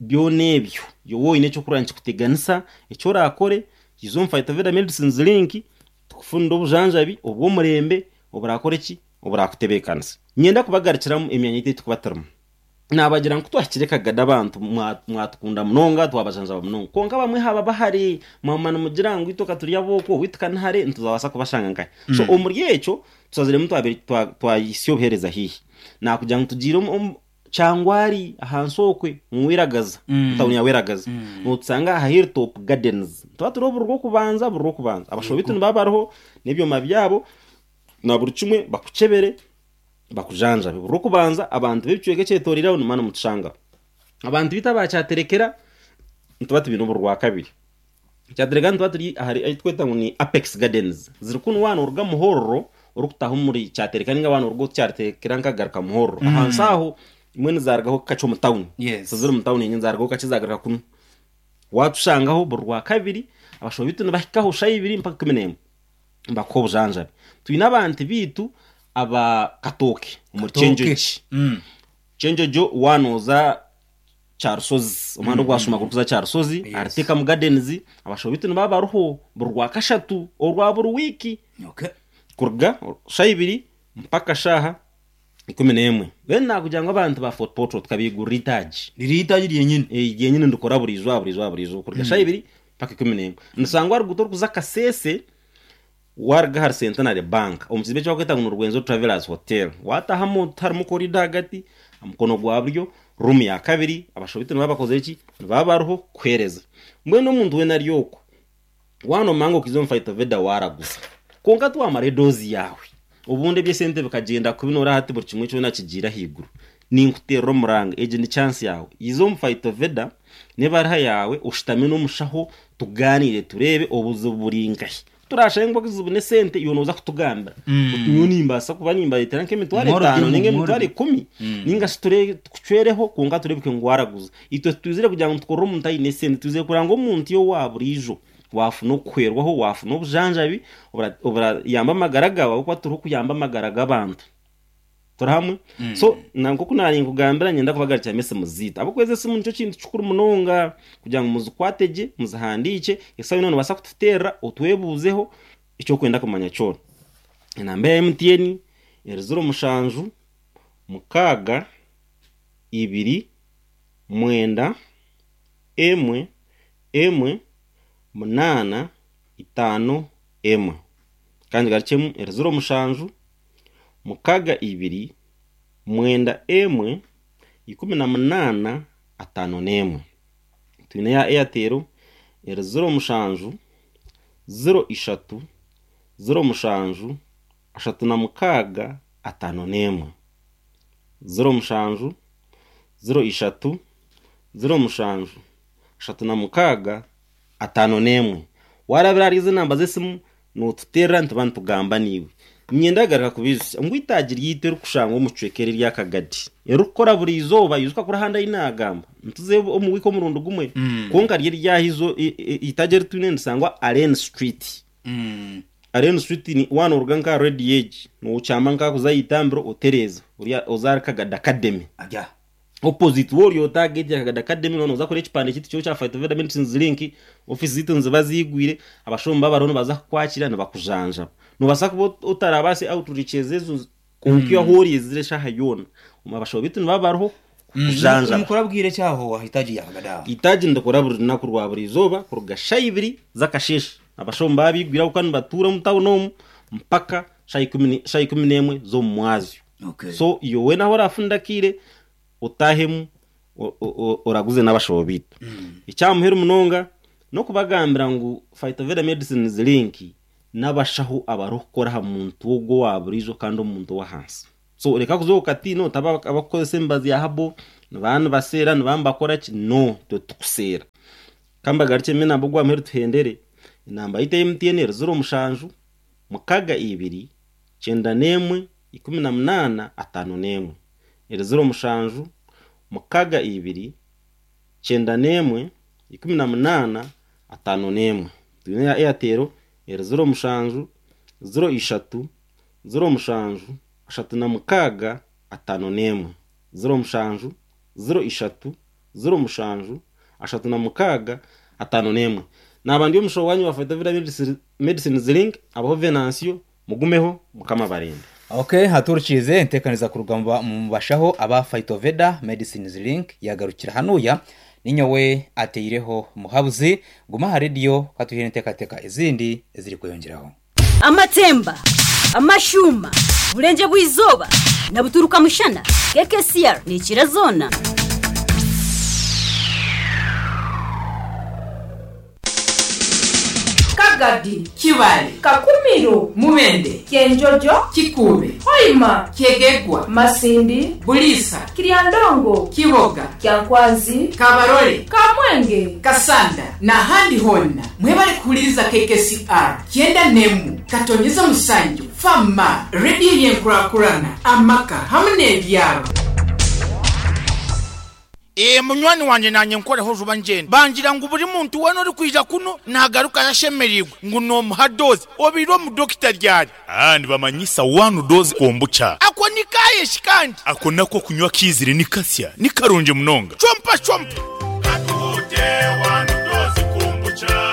byona ebyo. Iwe waaba oine eky'okurora nikikuteganisa, eki oraakore, iza omu Phytoveda Medicines Link, Tukufunire obujanjabi obw'omurembe oburakore ki? Oburakutebeekanisa. Niinyenda kubagarukiramu emyanya yaitu ei turikuba turimu. Naabagira ngu ku twahikire Kagadi abantu mwatukunda munonga, twabajanjaba munonga. Kwonka abamwe haaba bahare, mwaguma nimugira ngu itwe ka turi ab'oku, owaitu ka ni hare, nitubaasa kubashanga nkahi? So omuri ekyo, tushaziremu twahitsya obuheereza haihi. Naakugira ngu tugiire omu. Kyangwari ahansi okwe omu Weragaza, omu tawuni ya Weragaza, notusanga aha Hilltop Gardens. Nituba turi oburi rw'okubanza buri rw'okubanza. Abashaho baitu nibaba bariho n'ebyoma byabo na buri kimwe bakukyebere bakujanjabe. Buri rw'okubanza abantu b'ebicweka ekyetoreire aho nimuba nimutushangaho. Abantu baitu aba Kyaterekera nituba tubaine oburi rwakabiri. Kyaterekera nituba turi ahari ahu turikweta ngu ni Apex Gardens. Ziri kunu waaba nooruga Muhorro orikutaaha omuri Kyaterekera nainga waaba nooruga Kyaterekera nkagaruka Muhorro. Ahansi aho mbwenu zaarugaho kakye omu tawuni. Yes. Tiziri mu tawuni yenyini zaarugaho kakye zaagaruka kunu. Waatushangaho buri Rwakabiri, abashaho baitu nibahikaho shaaha ibiri mpaka 11 nibakuha obujanjabi. Twine abantu baitu aba Katooke omuri Katooke. Kyenjoki. Kyenjojo waaba nooza Kyarushozi, omuhanda ogwashuma gurikuza Kyarushozi, Yes. ahari Tekamu Gardens, abashaho baitu nibaba bariho buri Rwakashatu orwa buri wiiki Okay. kuruga shaaha ibiri mpaka shaaha 11. Then nakugira ngu abantu ba Fort Portal tukabaigurira eitaagi. Riri eitaagi ryenyini. Eh, ryenyini nirikora buri izooba buri izooba buri izooba kuruga shaaha ibiri mpaka 11. Nishangwa aharuguuto orikuza Kasese Waaruga ahari Centenary Bank, omu kizimbe eki barikweta ngu ni Rwenzori Travellers Hotel, waataahamu harimu korido ahagati, aha mukono gwa buryo, ruumu ya kabiri, abashaho baitu nibaba bakozire ki? Nibaba bariho kukuheereza. Mbwenu omuntu weena ari okwo, waaba noomanya ngu okaija omu Phytoveda waaraguza, kwonka tiwaamara edoozi yaawe, obundi eby'esente bikagyenda kubi nooreeba hati buri kimwe kyona kigiire ahaiguru, ninkuteerera omuranga, egi ni chance yaawe, iza omu Phytoveda n'ebaruha yaawe oshutame n'omushaho tugaaniire tureebe obuzibu buri nkahi. Ku turaashange ngu obuzibu n'esente, iwe nooza kutugambira oti nyowe nimbaasa kuba nimbareetera nk'emitwaro Mworobi etaano nainga mworobi. emitwaro ikumi nainga shi ture tukucwereho kwonka tureebeke ngu waaraguza. Itwe titwizire kugira ngu tukorere omuntu aine esente, twizire kureba ngu omuntu iwe owa buriijo waafuna okuhwerwaho, waafuna obujanjabi obura oburayamba amagara gaawe ahabw'okuba turiho kuyamba amagara g'abantu. Turi hamwe? So na nk'oku naarinkugambira niinyenda kubagarukiramu esimu zaitu. Ahabw'okuba ezi esimu nikyo kintu kikuru munonga kugira ngu muzikwate gye, muzihandiikye, eshaaha yoona noobaasa kututeerera otwebuuzeho eki orikwenda kumanya kyona. Enamba ya MTN eri ziro mushanju, mukaaga, ibiri, mwenda, emwe, emwe, munaana, itaano, emwe. Ka ngigarukyemu eri 07 mukaga ibiri mwenda emwe 18 51. Twine eya Airtel eri 07 03 07 36 51. 07 03 07 36 51. Waarabira ahari ezo namba z'esimu nootuteerera nituba nitugamba naiwe. Niinyenda kugaruka kubaijutsya ngu eitaagi ryaitu erikushangwa omu kicweka eri erya Kagadi, eririkukora buri izooba, ijuka kuri ahandi ahu naagamba, nituza omu wiiki omurundi gumwe, kwonka ryo eryaha eitaagi eri twine nirishangwa Allen Street. Allen Street ni waaba nooruga nk'aha rediyo egi, nookyama nk'aha kuza aha itambiro otereeza, oza ahari Kagadi Academy. Opposite woori ota aha gate ya Kagadi Academy noba noza kureba ekipande kyaitu kiriho kya Phytoveda Medicines Link, office zaitu niziba ziigwire, abashaho nibaba bariho nibaza kukwakira nibakujanjaba. Nobaasa kuba otarabaase outreaches ezo kwonka iwe ahu ori ezire eshaaha yoona, abashaho baitu nibaba bariho. Kukujanjaba. Nimukora bwire ki aho aha itaagi rya Kagadi aho? Itaagi nirikora buri runaku rwa buri izooba kuruga shaaha ibiri z'akasheeshe. Abashaho nibaba baigwire ahabw'okuba nibatuura omu tawuni omu mpaka shaaha ikumi n'emwe z'omu mwazyo. So iwe weena ahu oraafunire akaire otaahemu oraguze n'abashaho baitu. Eky'aha muheru munonga n'okubagambira ngu Phytoveda Medicines Link n'abashaho abarikukora aha muntu ogwo owa buriijo kandi omuntu ow'ahansi. So reka kuza okatiina oti abarikukozesa emibazi ya habo nibaba nibaseera nibaba nibakora ki, no itwe titukuseera. Ka mbagarukyemu enamba ogwa muheru tuhendere, enamba yaitu eya MTN eri ziro mushanju, mukaga ibiri, kyenda n'emwe, 18, 51. Eri 07, 62, 91, 18, 51. Twine eya Airtel eri 07, 03, 07, 36, 51. 07, 03, 07, 36, 51. Naaba ndi omushaho waanyu wa Phytovida Medicines Link, abaho Venancio. Mugumeho, Mukama abarinde. Ok, haturukiize enteekaniza kuruga mu bashaho aba Phytoveda Medicines Link yagarukira hanuya. Ninyowe ateireho Muhabuzi. Guma aha rediyo katuhire enteekateeka ezindi ezirikweyongyeraho. Amatemba, amashuuma, Burengye bw'eizooba na buturuka mushana, KKCR neekira zoona. Kagadi. Kibale. Kakumiro. Mubende. Kyenjojo. Kikuube. Hoima. Kyegegwa. Masindi. Buliisa. Kiryandongo. Kiboga. Kyankwanzi. Kabarole. Kamwenge. Kasanda n'ahandi hoona. Mwebale kuhuririza KKCR kyenda n'emwe katonyeza mushanju Fama, rediyo y'enkurakurana, amaka hamwe n'ebyaro. Ee, munywani wangye naanye nkoreho juba ngyende. Bangira ngu buri muntu weena orikwija kunu naagarukayo ashemereirwe ngu noomuha doozi. Obaire omu dokita ryari? Aa, nibamanyisa one dose kombucha. Ako ni kaaye shi kandi? Ako nako kunywa kaizire ni kasya, ni karungi munonga. Chompa chompa. Katuhute one dose kombucha.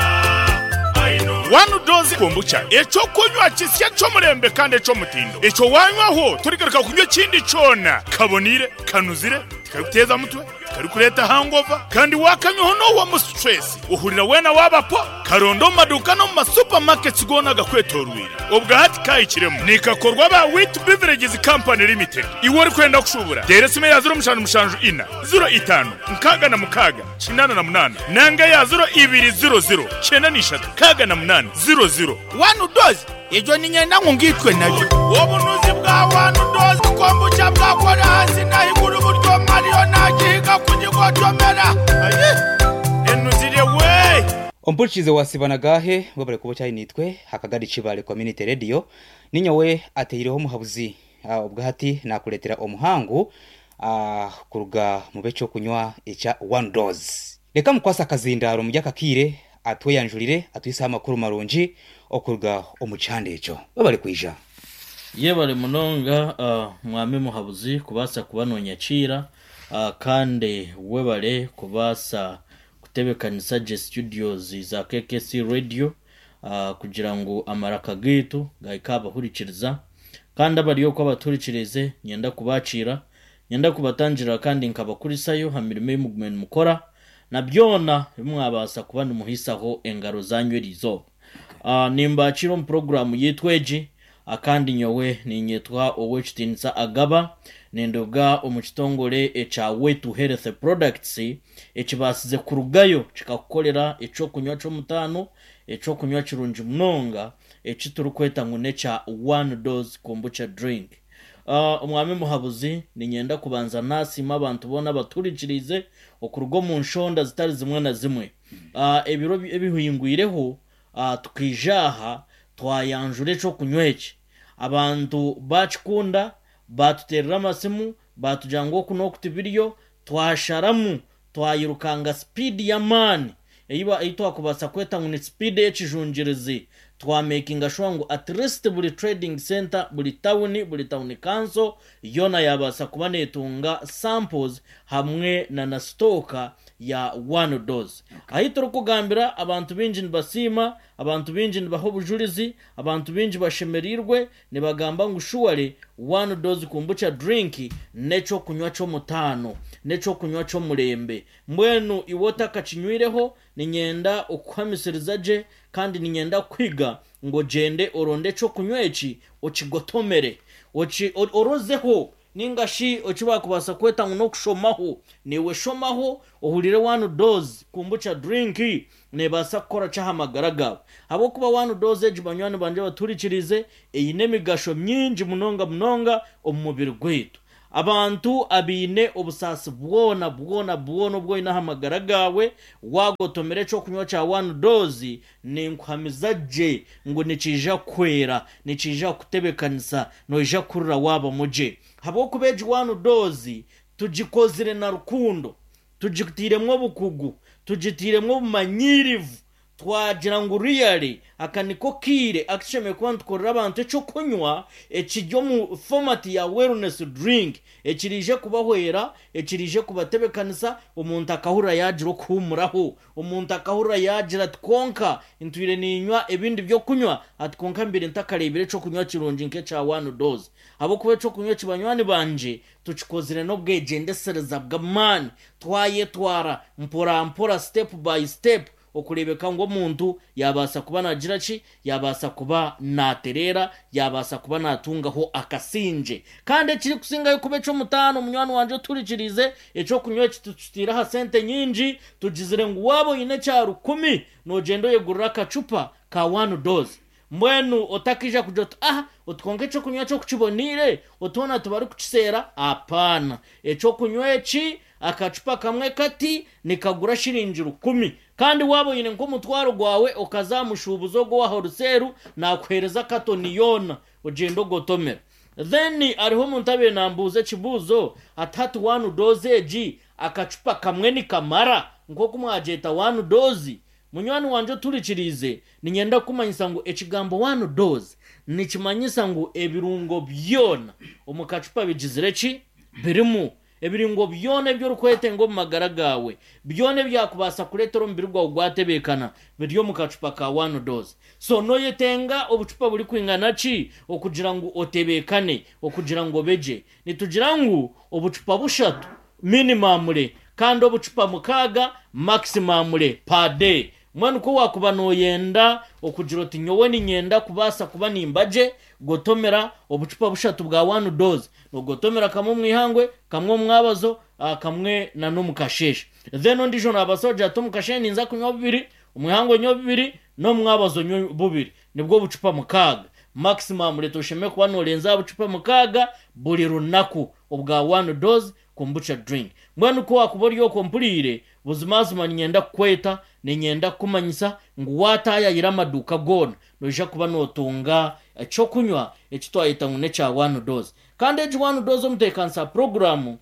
One dose kombucha, eky'okunywa kisya ky'omurembe kandi eky'omutindo. Ekyo waanywaho torigaruka kunywa ekindi kyona. Kaboniire, kanuzire. Tikarikuteeza mutwe, tikarikureeta hangover, kandi waakanywaho noohwamu situresi, ohurira weena waaba po. Karonde omu maduuka n'omu ma supermarkets goona agakwetooroire. Obwa hati kaahikiremu. Nikakorwa aba Wheat Beverages Company Limited. Iwe orikwenda kushuubura, teera esimu eya ziro mushanju mushanju ina, ziro itaano, nkaaga na mukaaga, kinaana na munaana nanga eya ziro ibiri ziro ziro, kyenda na ishatu, nkaaga na munaana, ziro ziro. One dose Egyo niinyenda ngu ngaitwe nayo. Obunuzi bwa One Dose Kombucha bwakora ahansi n'ahaiguru buri omwe ariyo naagihiga kugigotomera. Ayi! Enuzire we! Ompurikiize wa Siba na Gaahe, webare kuba okyari naitwe aha Kagadi Kibale Community Radio. Ninyowe ateireho omuhabuzi obwahati nakureetera omuhangu kuruga mu b'ekyokunywa ekya One Dose. Reka mukwase akazindaaro omuri aka kaire atweyanjurire atuhiseho amakuru marungi okuruga omu kihanda ekyo. Webare kwija. Yebare munonga Mwami Muhabuzi kubaasa kuba nonyakiira kandi webare kubaasa kutebekanisa gye studios za KKC Radio kugira ngu amaraka gaitu gahike aha bahurikiriza kandi abari okwo abatuhurikiriize niinyenda kubakiira Niinyenda kubatangirira kandi nkabakurisayo ha mirimo ei mugume nimukora, na byona ebi mwabaasa kuba nimuhiisaho engaro zaanyu eri izooba. Nimbakiira omu puroguraamu yaitu egi, kandi nyowe niinyetwa Ow'ekitiinisa Agaba, ninduga omu kitongore ekya Wetu Health Products, ekibaasize kurugayo kikakukorera eky'okunywa ky'omutaano, eky'okunywa kirungi munonga eki turikweta ngu n'ekya One Dose Kombucha Drink. Omwami Muhabuzi, Niinyenda kubanza naasiima abantu boona abatuhurikiriize okuruga omu nshonda zitari zimwe na zimwe. Ebiro ebihingwireho tukaija aha twayanjura eky'okunywa eki. Abantu baakikunda, baatuteerera amasimu, baatugira ngu oku n'oku tibiriyo, twasharamu Twayirukanga sipiidi y'amaani ei twakubaasa kweta ngu ni sipiidi ey'ekijungirizi. Twamekinga shuwa ngu at least buri trading centre, buri tawuni, buri tawuni kanso yoona yaabaasa kuba neetunga samples hamwe na na sitooka ya one dose. Ahi turikugambira abantu baingi nibasiima, abantu baingi nibaha obujurizi, abantu baingi bashemereirwe nibagamba ngu surely one dose kombucha drink n'eky'okunywa ky'omutaano. N'ekyokunywa ky'omurembe. Mbwenu iwe otakakinywireho, niinyenda okukuhamisiriza gye kandi niinyenda kukuhiga ngu ogyende oronde ekyokunywa eki okigotomere. Oki orozeho ninga shi eki baakubaasa kweta ngu n'okushomaho. Naiwe shomaho ohurire one dose kombucha drink neebaasa kukora ki aha magara gaawe. Ahabw'okuba one dose egi banywani bangye abatuhurikiriize eine emigasho mingi munonga munonga omu mubiri gwaitu. Abantu abaine obusaasi bwona bwona bwona obu oine aha magara gaawe, waagotomera eky'okunywa kya One Dose, ninkuhamiza gye ngu nikiija kukuhwera, nikiija kukutebeekanisa, noija kuhurira waabamu gye. Ahabw'okuba egi One Dose tugikozire na rukundo, tugitairemu obukugu, tugitairemu obumanyiirivu, Twagira ngu really aka niko kaire aku tushemereire kuba nitukorera abantu eky'okunywa ekiri omu format ya wellness drink ekiraije kubahwera, ekiraije kubatebekanisa, omuntu akahurira yaagira okuhuumuraho, omuntu akahurira yaagira ati kwonka ntwire niinywa ebindi by'okunywa ati kwonka mbaire ntakareebire eky'okunywa kirungi nk'ekya one dose ahabw'okuba eky'okunywa eki banywani bangye tukikozire n'obwegyendesereza bw'amaani twayetwara mpora mpora step by step Okureebeka ngu omuntu yaabaasa kuba naagira ki? Yaabaasa kuba naatereera, yaabaasa kuba naatungaho akasingye. Kandi ekirikusingayo kuba eky'omutaano, munywani wangye otuhurikiriize, eky'okunywa eki tukitaire aha sente nyingi, tugizire ngu waaba oine ekya rukumi, noogyenda oyegurira akacupa ka one dose. Mbwenu otakaija kugira oti, Ah, oti kwonka eky'okunywa kyo ku kiboneire, oti hoona tibarikukiseera? Apaana. Eky'okunywa eki, akacupa kamwe kati, nikagura shiringi rukumi. Kandi waaba oine nk'omutwaro gwawe okaza aha mushuubuzi ogwo owa horuseeru, naakuheereza katoni yoona, ogyende ogotomere. Then hariho omuntu abaire naambuuza ekibuuzo ati, Hati one dose egi, akacupa kamwe nikamara? Nk'oku mwagyeta one dose? Munywani wangye oturikiriize, niinyenda kukumanyisa ngu ekigambo one dose nikimanyisa ngu ebirungo byona omu kacupa bigizire ki? Birimu. Ebirungo byona ebi orikwetenga omu magara gaawe, byona ebyakubaasa kureetera omubiri gwawe gwatebeekana, biri omu kacupa ka one dose. So, noyetenga obucupa burikwingana ki okugira ngu otebeekane, okugira ngu obe gye? Nitugira ngu obucupa bushatu minimamure kandi obucupa mukaaga maximamure per day. Mbwenu ku waakuba nooyenda okugira oti nyowe niinyenda kubaasa kuba nimba gye, gotomera obucupa bushatu bwa one dose. Noogotomera kamwe omu ihangwe, kamwe omu mwabazo, kamwe na n'omu kasheeshe. Then ondiijo naabaasa kugira ati omu kasheeshe ninza kunywa bubiri, omu ihangwe nywe bubiri, n'omu mwabazo nywe bubiri. Nibwo obucupa mukaaga. Maximum rate oshemereire kuba noorenza aha bucupa mukaaga buri runaku obwa one dose kombucha drink. Mbwenu ku waakuba ori okwo mpuriire, buzimazima niinyenda kukweta, niinyenda kukumanyisa ngu waataayayira amaduuka goona, noija kuba nootunga eky'okunywa eki twayeta ngu n'ekya one dose. Kandi egi one dose omuteekanisa puroguraamu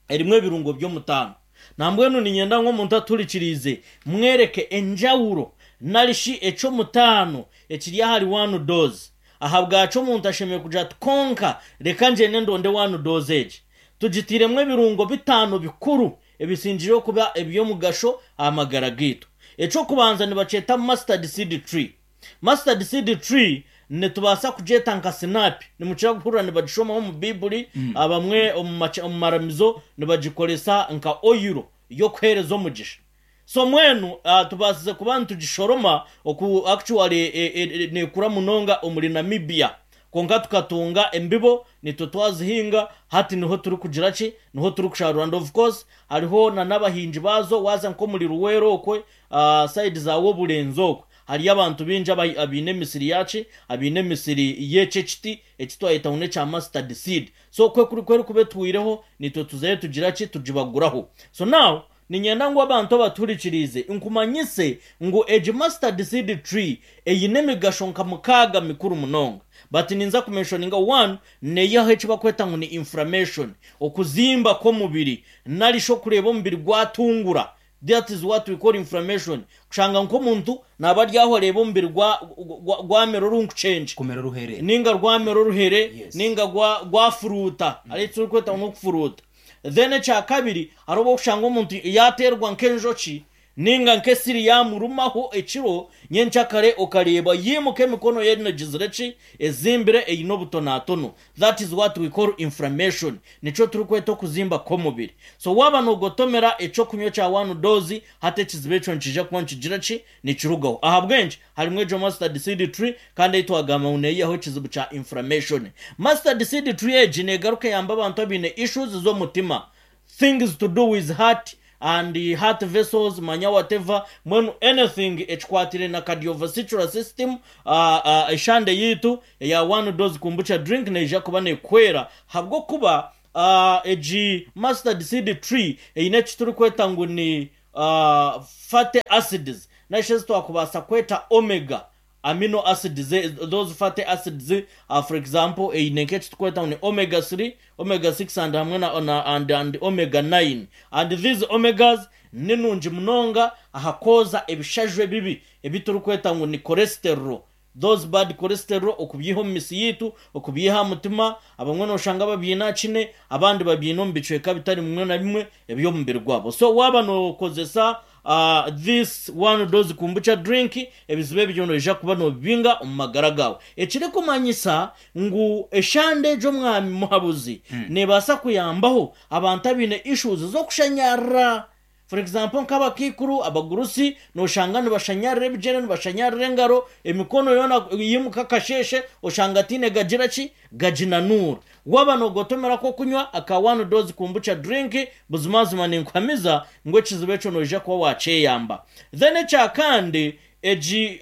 erimu ebirungo by'omutaano. Nambwenu niinyenda ngu omuntu atuhurikiriize mwereke enjawuro nari shi eky'omutaano ekiri ahari one dose. Ahabwaki omuntu ashemereire kugira ati, Kwonka reka ngyende ndonde one dose egi? Tugitairemu ebirungo bitaano bikuru ebisingireyo kuba eby'omugasho aha magara gaitu. Eky'okubanza nibakyeta mustard seed tree. Mustard seed tree nitubaasa kugyeta nka sinaapi. Nimukira kuhurira nibagishomaho omu Baibuli, abamwe omu maramizo nibagikoresa nka oyiro y'okuheereza omugisha. So mbwenu tubaasize kuba nitugishoroma oku actually neekura munonga omuri Namibia. Kwonka tukatunga embibo nitwe twazihinga, hati niho turikugira ki, niho turikusharuura and of course hariho na n'abahingi baazo waaza nk'omuri Luweero okwe, sayidi za Wobulenzi okwe hariyo abantu baingi abaine emisiri yaaki, abaine emisiri y'eki ekiti eki twayeta ngu n'ekya mustard seed. So ku erikuba etwireho nitwe tuzayo tugira ki, tugibaguraho. So now Niinyenda ngu abantu abatuhurikiriize nkumanyise ngu egi mustard seed tree eine emigasho nka mukaaga mikuru munonga. But ninza kumenshoninga one, neyihaho eki bakweta ngu ni inflammation, okuzimba kw'omubiri nari shi okureeba omubiri gwatungura, that is what we call inflammation, kushanga nk'omuntu naaba ari aho areeba omubiri gwamera orunkukyengye Kumera oruhere. ninga rwamera oruhere Yes. ninga gwafuruuta, hariho eki turikweta ngu n'okufuruuta. Then ekya kabiri hariho obu orikushanga omuntu yaateerwa nk'enjoki Ninga nk'esiri yaamurumaho ekiro, nyenkyakare okareeba yaimuka emikono ye enogizire ki? Ezimbire eine obutonatono. That is what we call inflammation. Nikyo turikweta okuzimba kw'omubiri. So waaba noogotomera eky'okunywa ekya one dose, hati ekizibu ekyo nikiija kuba nikigira ki? Nikirugaho. Ahabw'enki? Harimu egyo mustard seed tree kandi ei twagamba ngu neeyihaho ekizibu kya inflammation. Mustard seed tree egi neegaruka eyamba abantu abaine issues z'omutima. Things to do with heart and heart vessels manya whatever mbwenu anything ekikwatiraine na cardiovascular system eshande yaitu eya one dose kombucha drink neija kuba nekuhwera habwokuba egi mustard seed tree eine eki turikweta ngu ni fatty acids narishi ezi twakubaasa kweta omega amino acids, those fatty acids for example eine nk'ekiturikweta ngu ni omega 3, omega 6 and hamwe na, na, and, and omega 9 and these omegas ni nungi munonga aha kwoza ebishaju ebibi ebi turikweta ngu ni cholesterol, those bad cholesterol okubyiha omu misi yaitu, okubyiha aha mutima, abamwe noshanga babyine aha kine abandi babyine omu bicweka bitari bimwe na bimwe eby'omubiri gwabo. So waaba nokozesa This one dose kombucha drink, ebizibu ebyo noija kuba nobibinga omu magara gaawe. Ekirikumanyisa ngu eshande egyo Omwami Muhabuzi nebaasa kuyambaho abantu abaine issues z'okushanyarara. For example nk'abakaikuru, abagurusi, noshanga nibashanyarira ebigyere, nibashanyarira engaro, emikono yoona yimuka akasheeshe oshanga tihaine gagira ki? Gaginanuura. Waaba noogotomera ak'okunywa aka One Dose Kombucha Drink, buzimazima ninkuhamiza ngu ekizibu ekyo noija kuba waakyeyamba. Then ekya kandi, egi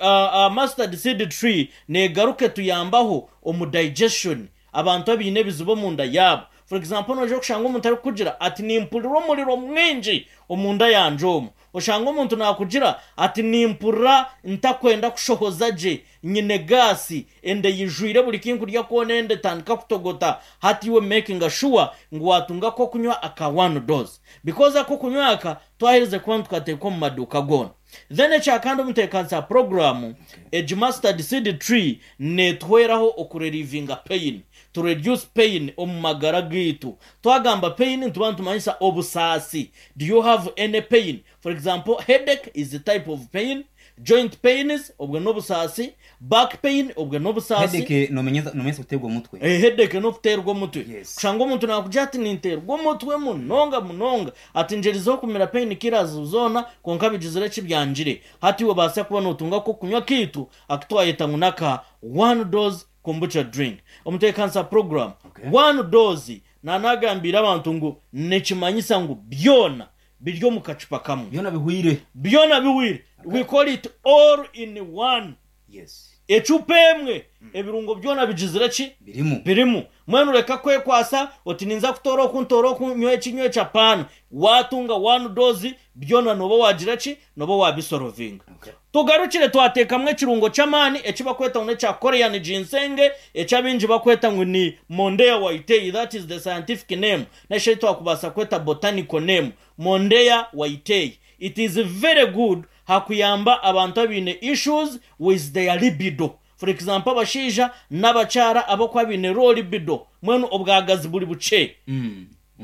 mustard seed tree neegaruka etuyambaho omu digestion, abantu abaine ebizibu omunda yaabo. For example, noija kushanga omuntu arikukugira ati nimpurira omuriro mwingi omunda yangye omu. Oshange omuntu naakugira ati, Nimpurira ntakwenda kushohoza gye, nyine gaasi, enda eyijwire buri ki nkurya kwona enda etandika kutogota. Hati iwe mekinga shuwa ngu waatunga ak'okunywa aka one dose. Because ak'okunywa aka twaherize kuba nitukateeka omu maduuka goona. Then ekya kandi omuteekanisa puroguraamu egi mustard seed tree neetuhweraho okurelivinga pain, to reduce pain omu magara gaitu. Twagamba pain nituba nitumanyisa obusaasi. Do you have any pain? For example, headache is a type of pain, joint pains obwe n'obusaasi, back pain obwe n'obusaasi. Headache nomanyisa kuteerwa omutwe. Eh, headache n'okuteerwa omutwe. Yes. Kushanga omuntu naakugira ati ninteerwa omutwe munonga munonga, ati ngyerizeho kumira pain killers zoona kwonka bigizire ki byangire. Hati iwe obaasa kuba nootunga ak'okunywa kaitu aku twayeta ngu n'aka one dose kombucha drink. Omuteekanisa puroguraamu, Okay. one dose Naanagambiire abantu ngu nikimanyisa ngu byona biri omu kacupa kamwe. Byona bihweire. Byona bihweire. We call it all in one. Yes. Ecupa emwe ebirungo byona bigizire ki? Birimu. Birimu. Mbwenu reka kwekwasa oti ninza kutoora oku ntoore oku nywe eki nywe eki apaana. Waatunga one dose byona nooba waagira ki? Nooba waabisorovinga. Okay. Tugarukire twateekamu ekirungo ky'amaani eki bakweta ngu n'ekya Korean ginseng, eki abaingi bakweta ngu ni Mondeya whitei, that is the scientific name, nari shi ei twakubaasa kweta botanical name, Mondeya whitei. It is very good ha kuyamba abantu abaine issues with their libido. For example abashaija n'abakyara abakuba baine low libido, mbwenu obwagazi buri bukye.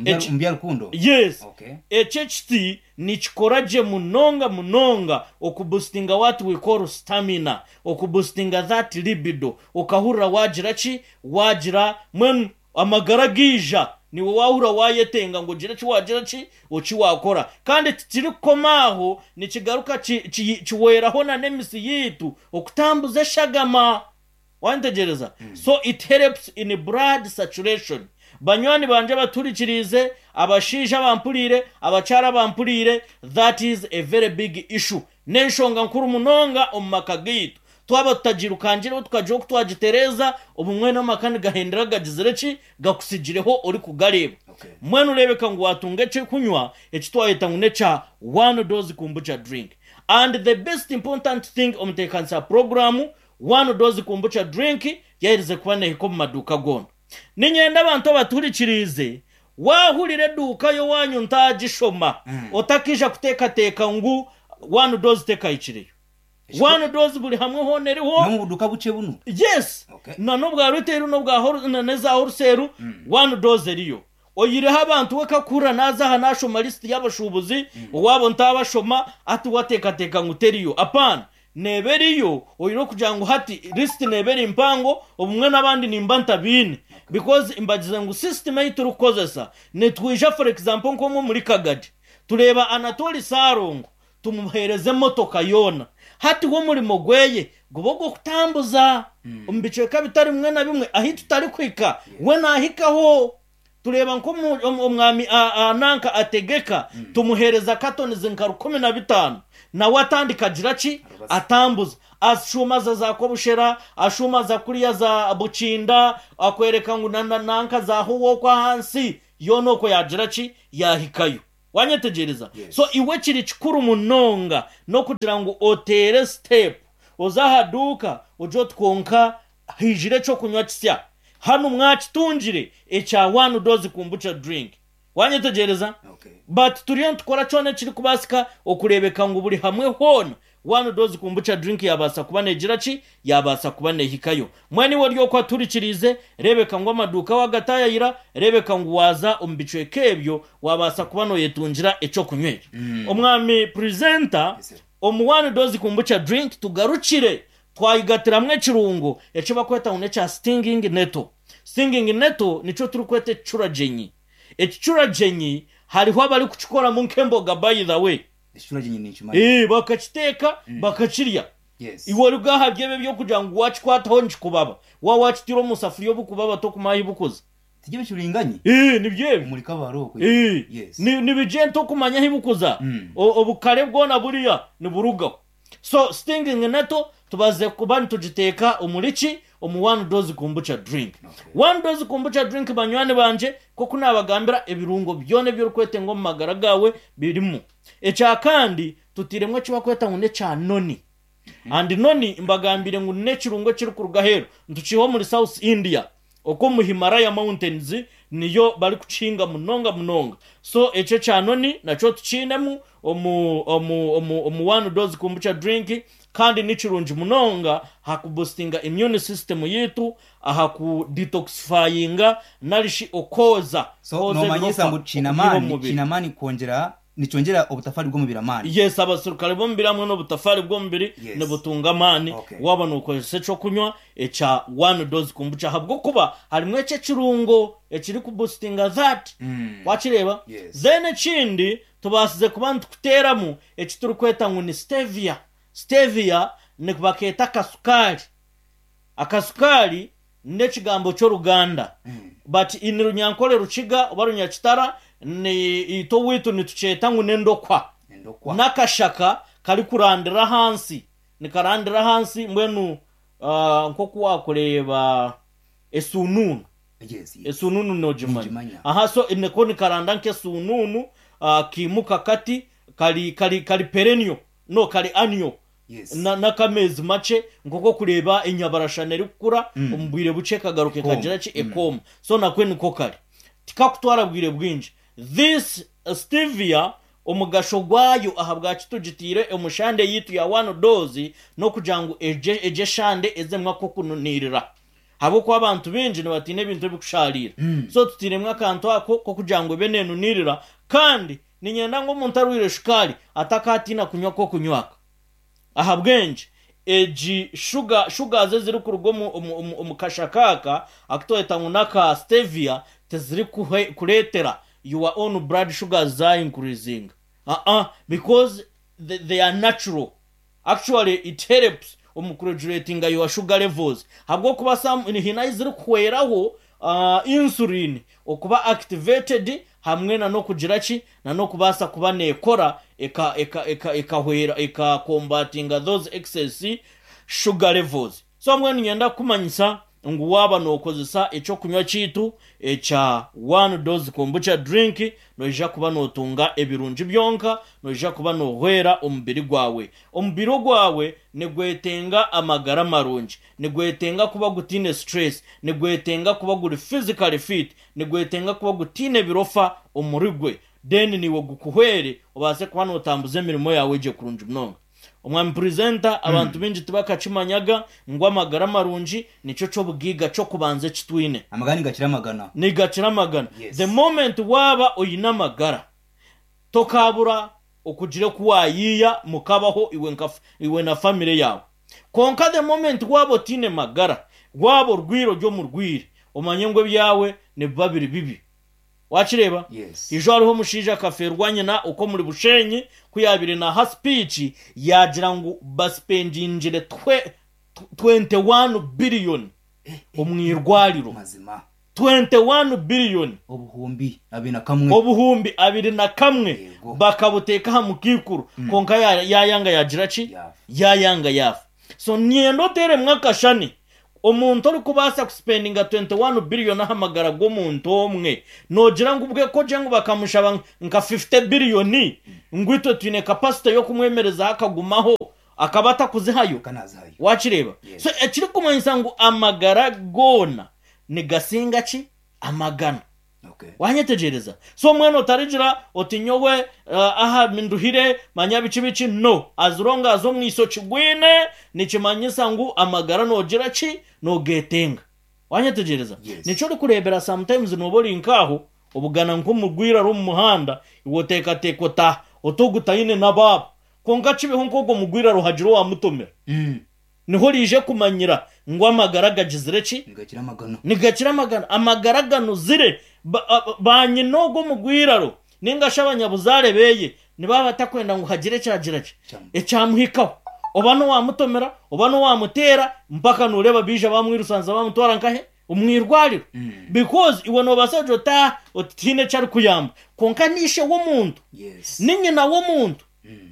Eki- Omu bya rukundo? Yes. Okay. Eki ekiti nikikora gye munonga munonga okubustinga what we call stamina, okubustinga that libido, okahurira wagira ki, wagira mbwenu amagara gaija niiwe wahurira wayetenga ngu ogire eki wagira ki, eki wakora. Kandi tikirikukoma aho, nikigaruka ki, ki, kihweraho na n'emisi yaitu okutambuza eshagama. Wantegyereza? So it helps in blood saturation. Banywani bangye abatuhurikiriize, abashaija abampuriire, abakyara abampuriire, that is a very big issue. N'enshonga nkuru munonga omu maka gaitu. Twaba tutagirukangireho tukagira oku twagitereeza, obumwe n'amaka nigahendera gagizire ki? Gakutsigireho orikugareeba. Okay. Mbwenu reebeka ngu waatunga eky'okunywa eki twayeta ngu n'ekya one dose kombucha drink. And the best important thing omuteekanisa wa puroguraamu, One Dose Kombucha Drink yaherize kuba neehika omu maduuka goona. Niinyenda abantu abatuhurikiriize, waahurira eduuka y'owaanyu ntaagishoma, otakaija kuteekateeka ngu One Dose tekahikireyo. One Dose buri hamwe hoona eriho. N'omu buduuka bukye bunu? Yes! Okay. Na n'obwa retail n'obwa n'eza wholesale, One Dose eriyo. Oyireho abantu we kakuhurira naaza aha naashoma lisiti y'abashuubuzi, owaabo ntaabashoma, hati wateekateeka ngu teriyo. Apaana. Neeba eriyo, oine okugira ngu hati lisiti neeba eri mpango, obumwe n'abandi nimba ntabiine. Because mbagize ngu system ei turikukozesa, nitwija for example nk'omwe omuri Kagadi, tureeba Anatoli Ssalongo, tumuheereza emotoka yoona. Hati we omurimo gweye guba ogw'okutambuza omu bicweka bitari bimwe na bimwe ahi tutarikuhika, we naahikaho. Tureeba nk'omwami nanka ategeka, tumuheereza katonizi nka 15,000, nawe atandika agira ki? Atambuza. Ashuuma aza za Kobushera, ashuuma aza kuriya za Bukinda, akwereka ngu nanka za Howa okwo ahansi, yoona okwo yaagira ki? Yaahikayo. Wanyetegyereza? So iwe kiri kikuru munonga n'okugira ngu oteere sitepu, oze aha duuka ogire oti kwonka haijire eky'okunywa kisya. Hanu mwakitungire ekya one dose kombucha drink. Wanyetegyereza? But turiyo nitukora kyona ekirikubaasika okureebeka ngu buri hamwe hoona one dose kombucha drink yaabaasa kuba neegira ki? Yaabaasa kuba neehikayo. Mbwenu iwe ori okwo atuhurikiriize, reebeka ngu amaduuka waagataayayira, reebeka ngu waaza omu bicweka ebyo waabaasa kuba nooyetungira eky'okunywa ekyo. Omwami Presenter, omu one dose kombucha drink tugarukire Twayigatiramu ekirungo eki bakweta ngu n'ekya stinging nettle. Stinging nettle nikyo turikweta ekicuragyenyi. Ekicuragyenyi hariho abarikukikoramu nk'emboga by the way. Ekicuragyenyi ninkimanya. Eeh bakakiteeka bakakirya. Yes. Iwe oruga aha by'ebyo eby'okugira ngu wakikwataho nikikubaba. Waaba wakitaire omu safuriya obukubaba tokumanya ahi bukuza. Tibyo ebicuringanyi? Eeh nibyo ebyo. Omuri Kabale okwo. Eeh Yes. nibigyenda tokumanya ahi bukuza. Obukare bwona buriya niburugaho. So stinging nettle tubaze kuba nitugiteeka omuri ki? Omu one dose kombucha drink. One dose kombucha drink banywani bangye nk'oku naabagambira ebirungo byona ebi orikwetenga omu magara gaawe birimu. Ekya kandi tutairemu eki barikweta ngu n'ekya noni. And noni mbagambiire ngu n'ekirungo ekirikuruga aheeru nitukiiha omuri South India. Okwo omu Himalaya mountains niyo barikukihinga munonga munonga. So ekyo ekya noni nakyo tukiinemu omu omu omu omu one dose kombucha drink kandi ni kirungi munonga aha kuboostinga immune system yaitu, aha ku detoxifyinga nari shi okwoza So kwoza noomanyisa ebirofa ngu kiine okubiiha omu amaani, mubiri. kiine amaani kwongyera Nikyongyera obutafari bw'omubiri amaani. Yes, abaserukare b'omubiri hamwe n'obutafari bw'omubiri Yes. nibutunga amaani Okay. waaba nookozesa eky'okunywa ekya one dose kombucha ahabw'okuba harimu ekyo ekirungo ekirikuboostinga that. Wakireeba? Yes. Then ekindi tubaasize kuba nitukuteeramu eki turikweta ngu ni stevia. Stevia nibakeeta akasukaari. Akasukaari n'ekigambo ky'Oruganda but in Runyankore Rukiga oba Runyakitara ni itwe owaitu nitukyeta ngu n'endokwa. Endokwa. N'akashaka karikurandira ahansi, nikarandira ahansi mbwenu nk'oku waakureeba esuunuunu. Yes, yes. Esuunuunu noogimanya? Ningimanya. Aha so niko nikaranda nk'esuunuunu kaimuka kati kari kari kari perennial no kari annual. Yes. Na- n'akameezi makye nk'oku okureeba enyabarashana erikukura omu bwire bukye ekagaruka Ekooma. ekagira ki ekooma so nakwe niko kari tikakutwara bwire bwingi this stevia omugasho gwayo ahabwaki tugitiire omu shande yaitu ya one dose n'okugira ngu egye egye eshande ezemu ak'okununiirira ahabw'okuba abantu baingi nibatiina ebintu ebikushaariira so tutairemu akantu ako k'okugira ngu ebe neenuniirira kandi Niinyenda ngu omuntu arwaire shukaari atakaatiina kunywa ak'okunywa aka. Ahabw'enki? Egi shuga, sugars ezirikuruga omu, omu, omu, omu kashaka aka aku tweta ngu n'aka stevia tizirikureetera your own blood sugars za increasinga. Aa, because they are natural. Actually it helps omu kuregulatinga your sugar levels ahabw'okuba some haine ahu zirikuhweraho insulin okuba activated hamwe na n'okugira ki na n'okubaasa kuba neekora eka eka eka ekahwera eka combatinga those excess sugar levels. So mbwenu niinyenda kukumanyisa ngu waaba nookozesa eky'okunywa kyaitu ekya One Dose Kombucha Drink, noija kuba nootunga ebirungi byonka, noija kuba noohwera omubiri gwawe. Omubiri ogwawe nigwetenga amagara marungi, nigwetenga kuba gutaine stress, nigwetenga kuba guri physically fit, nigwetenga kuba gutaine birofa omuri gwe, then naiwe gukuhwere obaase kuba nootambuza emirimo yaawe gye kurungi munonga. Omwami Purezenta, abantu baingi tibakakimanyaga ngu amagara marungi nikyo ky'obugaiga ky'okubanza eki twine. Amagara nigakira amagana. Nigakira amagana. Yes. The moment waaba oine amagara, tokaabura okugira oku waayiiya mukabaho iwe nka iwe na famire yaawe. Kwonka the moment waaba otaine magara, waaba orwaire ori omurwaire, omanye ngu ebyawe nibiba biri bibi. Wakireeba? Yes. Ijo hariho omushaija akafeerwa nyina okwo omuri Bushenyi ku yaabaire naaha sipiici yaagira ngu basipendingire 21 billion omu irwariro. Mazima. 21 billion. 21,000. 21,000 Yego. bakabuteeka aha mukaikuru kwonka yaayanga yaagira ki? Yaafa. Yaayanga yaafa. So niinyenda oteeremu akashani Omuntu orikubaasa kusipendinga 21 billion aha magara g'omuntu omwe, noogira ngu bwe ku ogire ngu bakamushaba nka 50 billion ngu itwe twine capacity y'okumwemerezaho akagumaho, akaba atakuzihayo? Waakireeba? So ekirikumanyisa ngu amagara goona nigasinga ki? Amagana. Wanyetegyereza? So mbwenu otarigira oti nyowe aha nduhire manya biki biki no as long as omwiso kigwine nikimanyisa ngu amagara nogira ki nogetenga. Wanyetegyereza? Yes. Nikyo orikureebera sometimes noba ori nk'aho obugana nk'omurwaire ari omu muhanda iwe oteekateeka oti ah oti ogu taine n'abaabo kwonka kibeho nk'ogwo murwaire hagira owamutomera. Niho oriije kumanyira ngu amagara gagizire ki? Nigakira amagana. Nigakira amagana. Amagara ganuzire. Ba nyina ogwo omugwiraro nainga shi abanyabuzaare beye nibaba batakwenda ngu hagire ekyagira ki? Ekyamuhikaho. Oba n'owamutomera, oba n'owamuteera, mpaka nooreeba baija bamwirusanza bamutwara nkahe? Omu irwariro. Because iwe noobaasa kugira oti ah, oti tihaine eki arikuyamba. Kwonka ni ishe w'omuntu, ni nyina w'omuntu,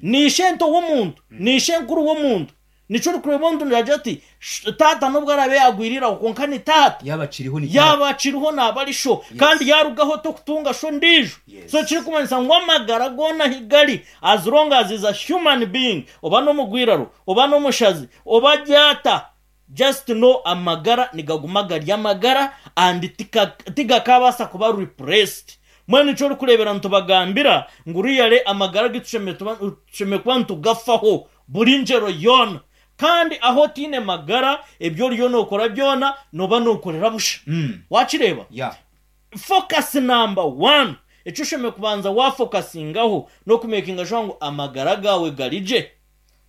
ni ishento w'omuntu, ni ishenkuru w'omuntu. Nikyo orikureeba omuntu naagira ati, Taata n'obu araabe yaagwire iraho kwonka ni taata. Yaaba akiriho ni taata. Yaaba akiriho naaba ari sho. Kandi yaarugaho tokutunga sho ondiijo. So ekirikumanyisa ngu amagara goona ahi gari, as long as is a human being, oba n'omugwiraro, oba n'omushazi, oba ari ata, just know amagara nigaguma gari amagara and tigakaabaasa kuba replaced. Mbwenu nikyo orikureebera nitubagambira ngu really amagara agu tushemereire kuba nitugafaho. Buri ngyero yoona. Kandi ahu otaine magara, ebi oriyo nookora byona nooba nookorera busha. Waakireeba? Yeah. Focus number one, eki oshemereire kubanza waafokasingaho n'okumekinga sure ngu amagara gaawe gari gye.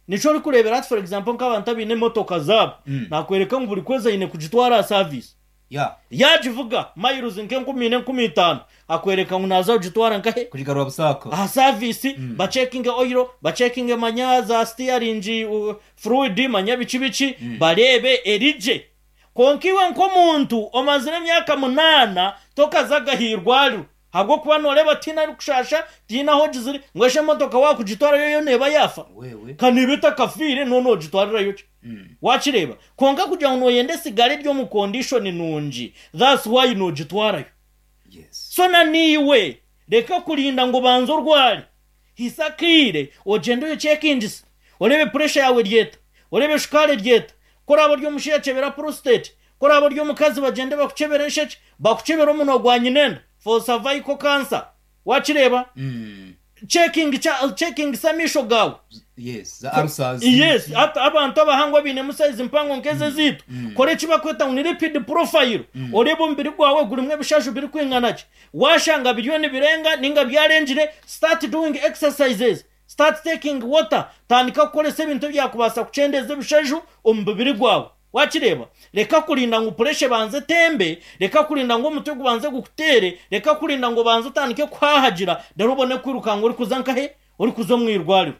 Nikyo orikureebera hati for example nk'abantu abaine emotoka zaabo, naakworeka ngu buri kwezi aine kugitwara aha service. Ya. Yaagivuga mayiruzi nk'enkumi ina 5,000, akwereka ngu naaza kugitwara nkahe? Kugigarura busaaka. Aha saviisi, bacekinge oyiro, bacekinge manya za sitiyaringi furuwidi, manya biki biki, bareebe eri gye. Kwonka iwe nk'omuntu omazire emyaka munaana tokazaga aha irwariro ahabw'okuba nooreeba tihaine arikushaasha, tihaine ahu ogizire, ngu shi emotoka waakugitwarayo yo neeba yaafa? Wewe. Ka neeba etakafiire noona noogitwarirayo ki? Wakireeba? Kwonka kugira ngu noyenda esigare eri omu condition nungi, that's why nogitwarayo. Yes. So na naiwe reka kurinda ngu obanze orware, hisa akaire ogyende oyekyekingise, oreebe pressure yaawe eri eta, oreebe shukaari eri eta, ku oraabe ori omushaija kyebera prostate, ku oraabe ori omukazi bagyende bakukyebere enshekye, bakukyebere omunwa gwa nyinenda for cervical cancer. Wakireeba? Checking Chekingisa amaisho gaawe. Yes, za ulcers. Yes, hati abantu abahango abainemu size mpango nk'ezi ezaitu, kora eki barikweta ngu ni lipid profile, oreebe omubiri gwawe gurimu ebishaju birikwingana ki. Waashanga biriyo nibirenga nainga byarengire, start doing exercises, start taking water, tandika kukoresa ebintu ebyakubaasa kukyendeeza ebishaju omu mubiri gwawe. Wakireeba? Reka kurinda ngu puresha ebanze etembe, reka kurinda ngu omutwe gubanze gukuteere, reka kurinda ngu obanze otandike kuhaahagira reero obone kwiruka ngu orikuza nkahe? Orikuza omu irwariro.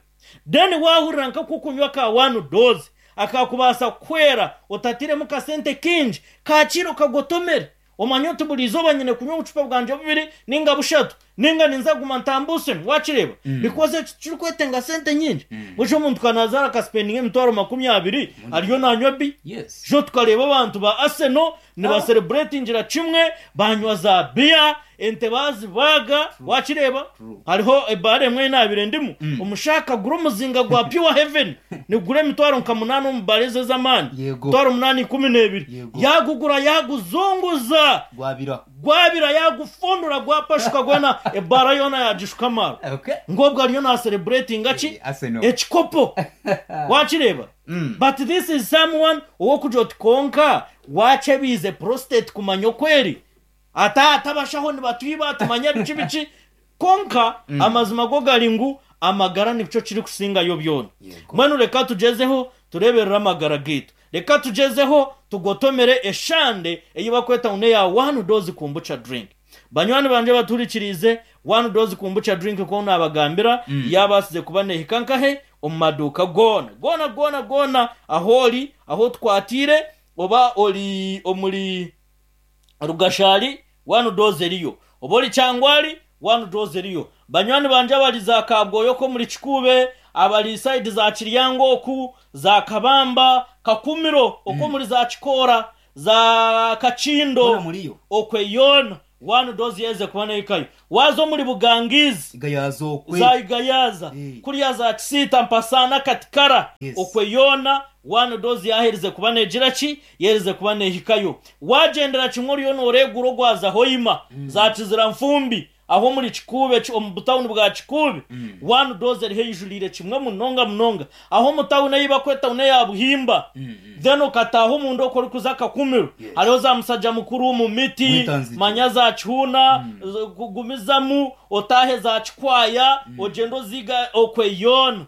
Then waahurira nk'oku okunywa ka one dose akaakubaasa kukuhwera otatairemu kasente kaingi, kaakiire okagotomere. Omanye oti buri izooba nyine kunywa obucupa bwangye bubiri nainga bushatu, nainga ninza kuguma ntambuusemu. Waakireeba? Because ekyo tikirikwetenga sente nyingi. Busha omuntu ka naazaara akasipendinga 20,000 ariyo naanywa bi. Yes. Sho tukareeba abantu ba Arsenal nibasereburetingira kimwe, baanywa za biya, ente baazibaaga. Waakireeba? Hariho ebaara emwe ei naabaire ndimu, omushaija akagura omuzinga gwa Pure Heaven nigugura emitwaro nka munaana omu baara ezo ez'amaani, Yego. emitwaro munaana ikumi n'ebiri. Yego. Yaagugura yaaguzunguza. Gwabira. Gwabira yaagufundura gwapashuka gwena ebaara yoona yaagishuka amaarwa. Okay. Ngu obwo ariyo naasereburetinga ki? Eh, Arsenal. Ekikopo. Waakireeba? But this is someone ow'okugira oti kwonka waakyebiize prostate kumanya oku eri? Ati ati abashaho nibatwiba tumanya biki biki. Kwonka amazima go gari ngu amagara nikyo kirikusingayo byona. Yego. Mbwenu reka tugyezeho tureeberere amagara gaitu. Reka tugyezeho tugotomere eshande ei barikweta ngu n'eya One Dose Kombucha Drink. Banywani bangye abatuhurikiriize, One Dose Kombucha Drink nk'oku naabagambira, yaabaasize kuba neehika nkahe? Omu maduuka goona, goona goona goona ahu ori, ahu otukwatiire, oba ori omuri Rugashari, One Dose eriyo. Oba ori Kyangwali, One Dose eriyo. Banywani bangye abari za Kabwoya okwo omuri Kikuube, abari sayidi za Kiryango oku, za Kabamba, Kakumiro okwo omuri za Kikoora, za Kakindo, Hoona muriyo. okwe yoona One Dose yaherize kuba nehikayo. Waaza omuri Bugangizi, Igayaza okwe. za Igayaza, Eh. kuriya za Kisiita, Mpasaana, Katikara, Yes. okwe yoona One Dose yaherize kuba negira ki? Yaherize kuba nehikayo. Wagyendera kimwe oriyo noreegura ogwaza Hoima, za Kizira Nfumbi, aho omuri Kikuube, omu butawuni bwa Kikuube, One Dose eriho eijuriire kimwe munonga munonga. Aho omu tawuni ei barikweta tawuni eya Buhimba, then okataaha omunda okwo orikuza Kakumiro, hariho za Musajja Mukuru, Mumiti, Mwitanzigye. manya za Kihuuna, gumizamu otaahe za Kikwaya, ogyende oziiga okwe yoona.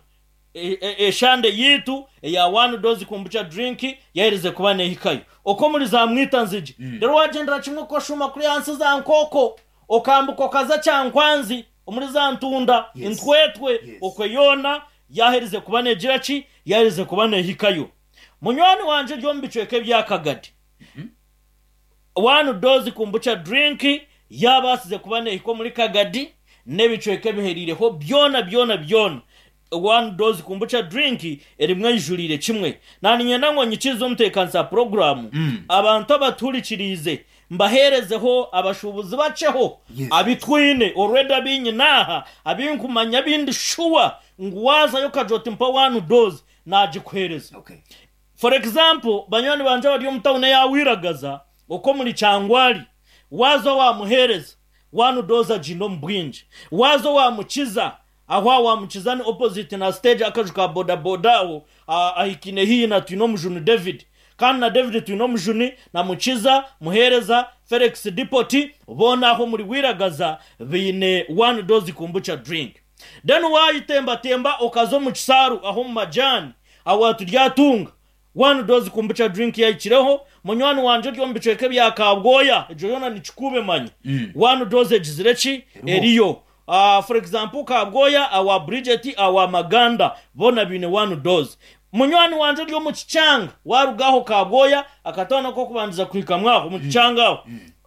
Eshande yaitu eya One Dose Kombucha Drink yaherize kuba nehikayo. Okwo omuri za Mwitanzigye. Reero wagyendera kimwe okashuuma kuriya ahansi za Nkooko, okambuka okaza Kyankwanzi omuri za Ntunda, Yes. Ntwetwe, Yes. okwe yoona yaherize kuba negira ki? Yaherize kuba nehikayo. Munywani wangye ori omu bicweka ebya Kagadi, One Dose Kombucha Drink yabaasize kuba nehika omuri Kagadi n'ebicweka ebihereireho byona byona byona. One Dose Kombucha Drink erimu eijuriire kimwe. Naaniinyenda ngu onyikirize omuteekanisa wa puroguraamu, abantu abatuhurikiriize mbaheerezeho abashuubuzi bakyeho Yes. abu twine already abu nyine aha, abu nkumanya abu ndi shuwa ngu waazayo okagira oti mpa One Dose naagikuheereza. Okay. For example, banywani bangye abari omu tawuni eya Wiragaza okwo omuri Kyangwali, waaza waamuheereza One Dose agiine omu bwingi. Waaza waamukiza, aho aha waamukiza ni opposite na stage akaju ka boda boda aho ahikaine haihi na Twinomujuni David. Kandi na David Twinomujuni na Mukiza, Muheereza, Felix Depot boona aho omuri Wiragaza baine One Dose Kombucha Drink. Then waayitembatemba okaza omu kisaaru aho omu majaani, aho turyatunga One Dose Kombucha Drink yahikireho. Munywani wangye ori omu bicweka ebya Kabwoya, egyo yoona ni Kikuube manya. One Dose egizire ki? Eriyo. For example Kabwoya, awa Bridget, awa Maganda, boona baine One Dose. Munywani wangye ori omu Kikyanga, waaruga aho Kabwoya, akatauni ak'okubandiza kuhikamu aho omu Kikyanga aho,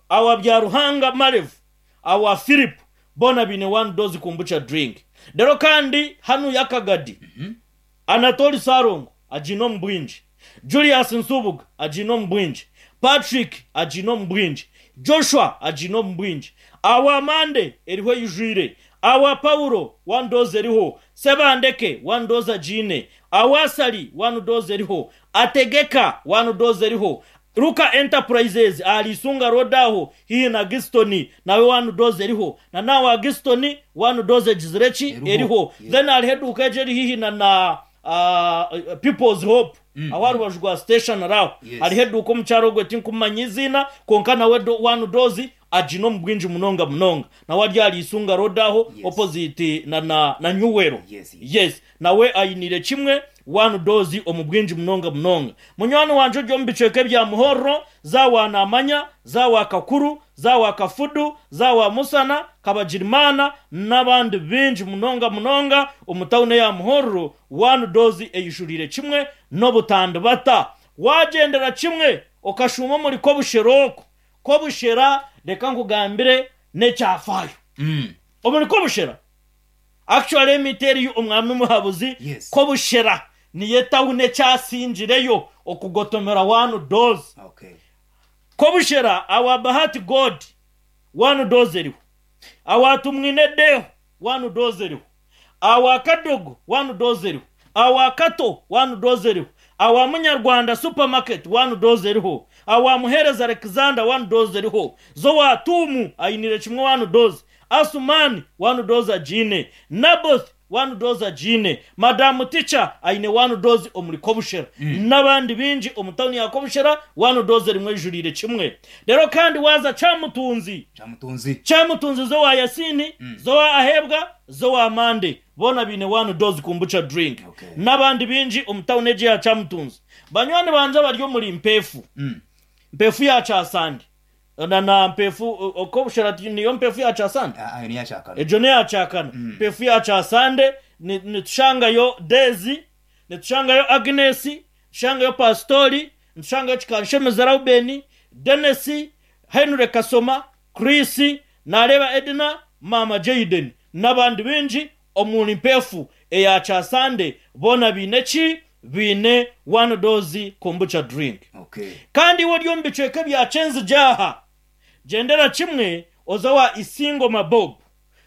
awa Byaruhanga Marevu, awa Philip, boona baine One Dose Kombucha Drink. Reero kandi hanuya Akagadi, Anatoli Ssalongo agiine omu bwingi, Julius Nsubuga agiine omu bwingi, Patrick agiine omu bwingi, Joshua agiine omu bwingi, Awa Mande eriho eijwire, Awa Paulo One Dose eriho, Sebandeke One Dose agiine, Awa Sali One Dose eriho, Ategeka One Dose eriho, Luka Enterprises ahari Isunga Road aho haihi na Giston nawe One Dose eriho, na nawe Giston One Dose egizire ki? Eriho. Eriho. Then hariho eduuka egyo eri haihi na People's Hope aho aha rubaju rwa station aho. Yes. Hariho eduuka omukyara ogwe tinkumumanya eiziina kwonka nawe One Dose agiine omu bwingi munonga munonga. Nawe ari ahari Isunga Road aho Yes. opposite na Nyuwero. Yes, yes. Yes. Nawe ainiire kimwe One Dose omu bwingi munonga munonga. Munywani wangye ori omu bicweka ebya Muhorro, za wa Namanya, za wa Kakuru, za wa Kafudu, za wa Musana, Kabagirimana n'abandi baingi munonga munonga omu tawuni eya Muhorro, One Dose eijuriire kimwe n'obutandibata. Waagyendera kimwe okashuuma omuri Kobushera okwo, Kobushera reka nkugambire n'ekyafaayo. Omuri Kobushera, actually emiti eriyo omwami Muhabuzi, Yes. Kobushera niyo etawuni ekyasingireyo okugotomera One Dose. Okay. Kobushera awa Bahati God One Dose eriho, awa Tumwine Deo One Dose eriho, awa Kadogo One Dose eriho, awa Kato One Dose eriho, Awa Munyarwanda supermarket one dose eriho. Awa Muhereza Alexander one dose eriho. Zowa Tumu ayinire kimwe one dose. Asumani one dose agiine. Naboth one dose agiine. Madamu Teacher aine one dose omuri Kobushera. N'abandi baingi omu tawuni ya Kobushera one dose erimu ejuriire kimwe. Reero kandi waaza Kyamutunzi. Kyamutunzi. Kyamutunzi zowa Yasini, zowa Ahebwa, zowa Mande. Boona baine one dose kombucha drink. Okay. N'abandi baingi omu tawuni egi eya Kyamutunzi. Banywani bangye abari omuri Mpeefu. Mpeefu ya Kyasande. Na na Mpeefu, Kobushera niyo Mpeefu ya Kyasande? Ah, eyo niyo Kyakana. Egyo n'eya Kyakana. Mpeefu ya Kyasande nitushangayo Daisy, nitushangayo Agnes, nitushangayo Pasitori, nitushangayo Kikanshemeza Reuben, Denis, Henry Kasoma, Chris, naareeba Edna, Maama Jayden n'abandi baingi omuri Mpeefu eya Kyasande boona baine ki? Baine one dose kombucha drink. Okay. Kandi iwe ori omu bicweka ebya Kyenzigye aha, gyendera kimwe oze owa Isingoma Bob,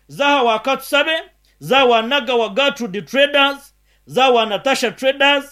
za aha wa Katusabe, za aha wa Nagawa Gertrude Traders, za aha wa Natasha Traders,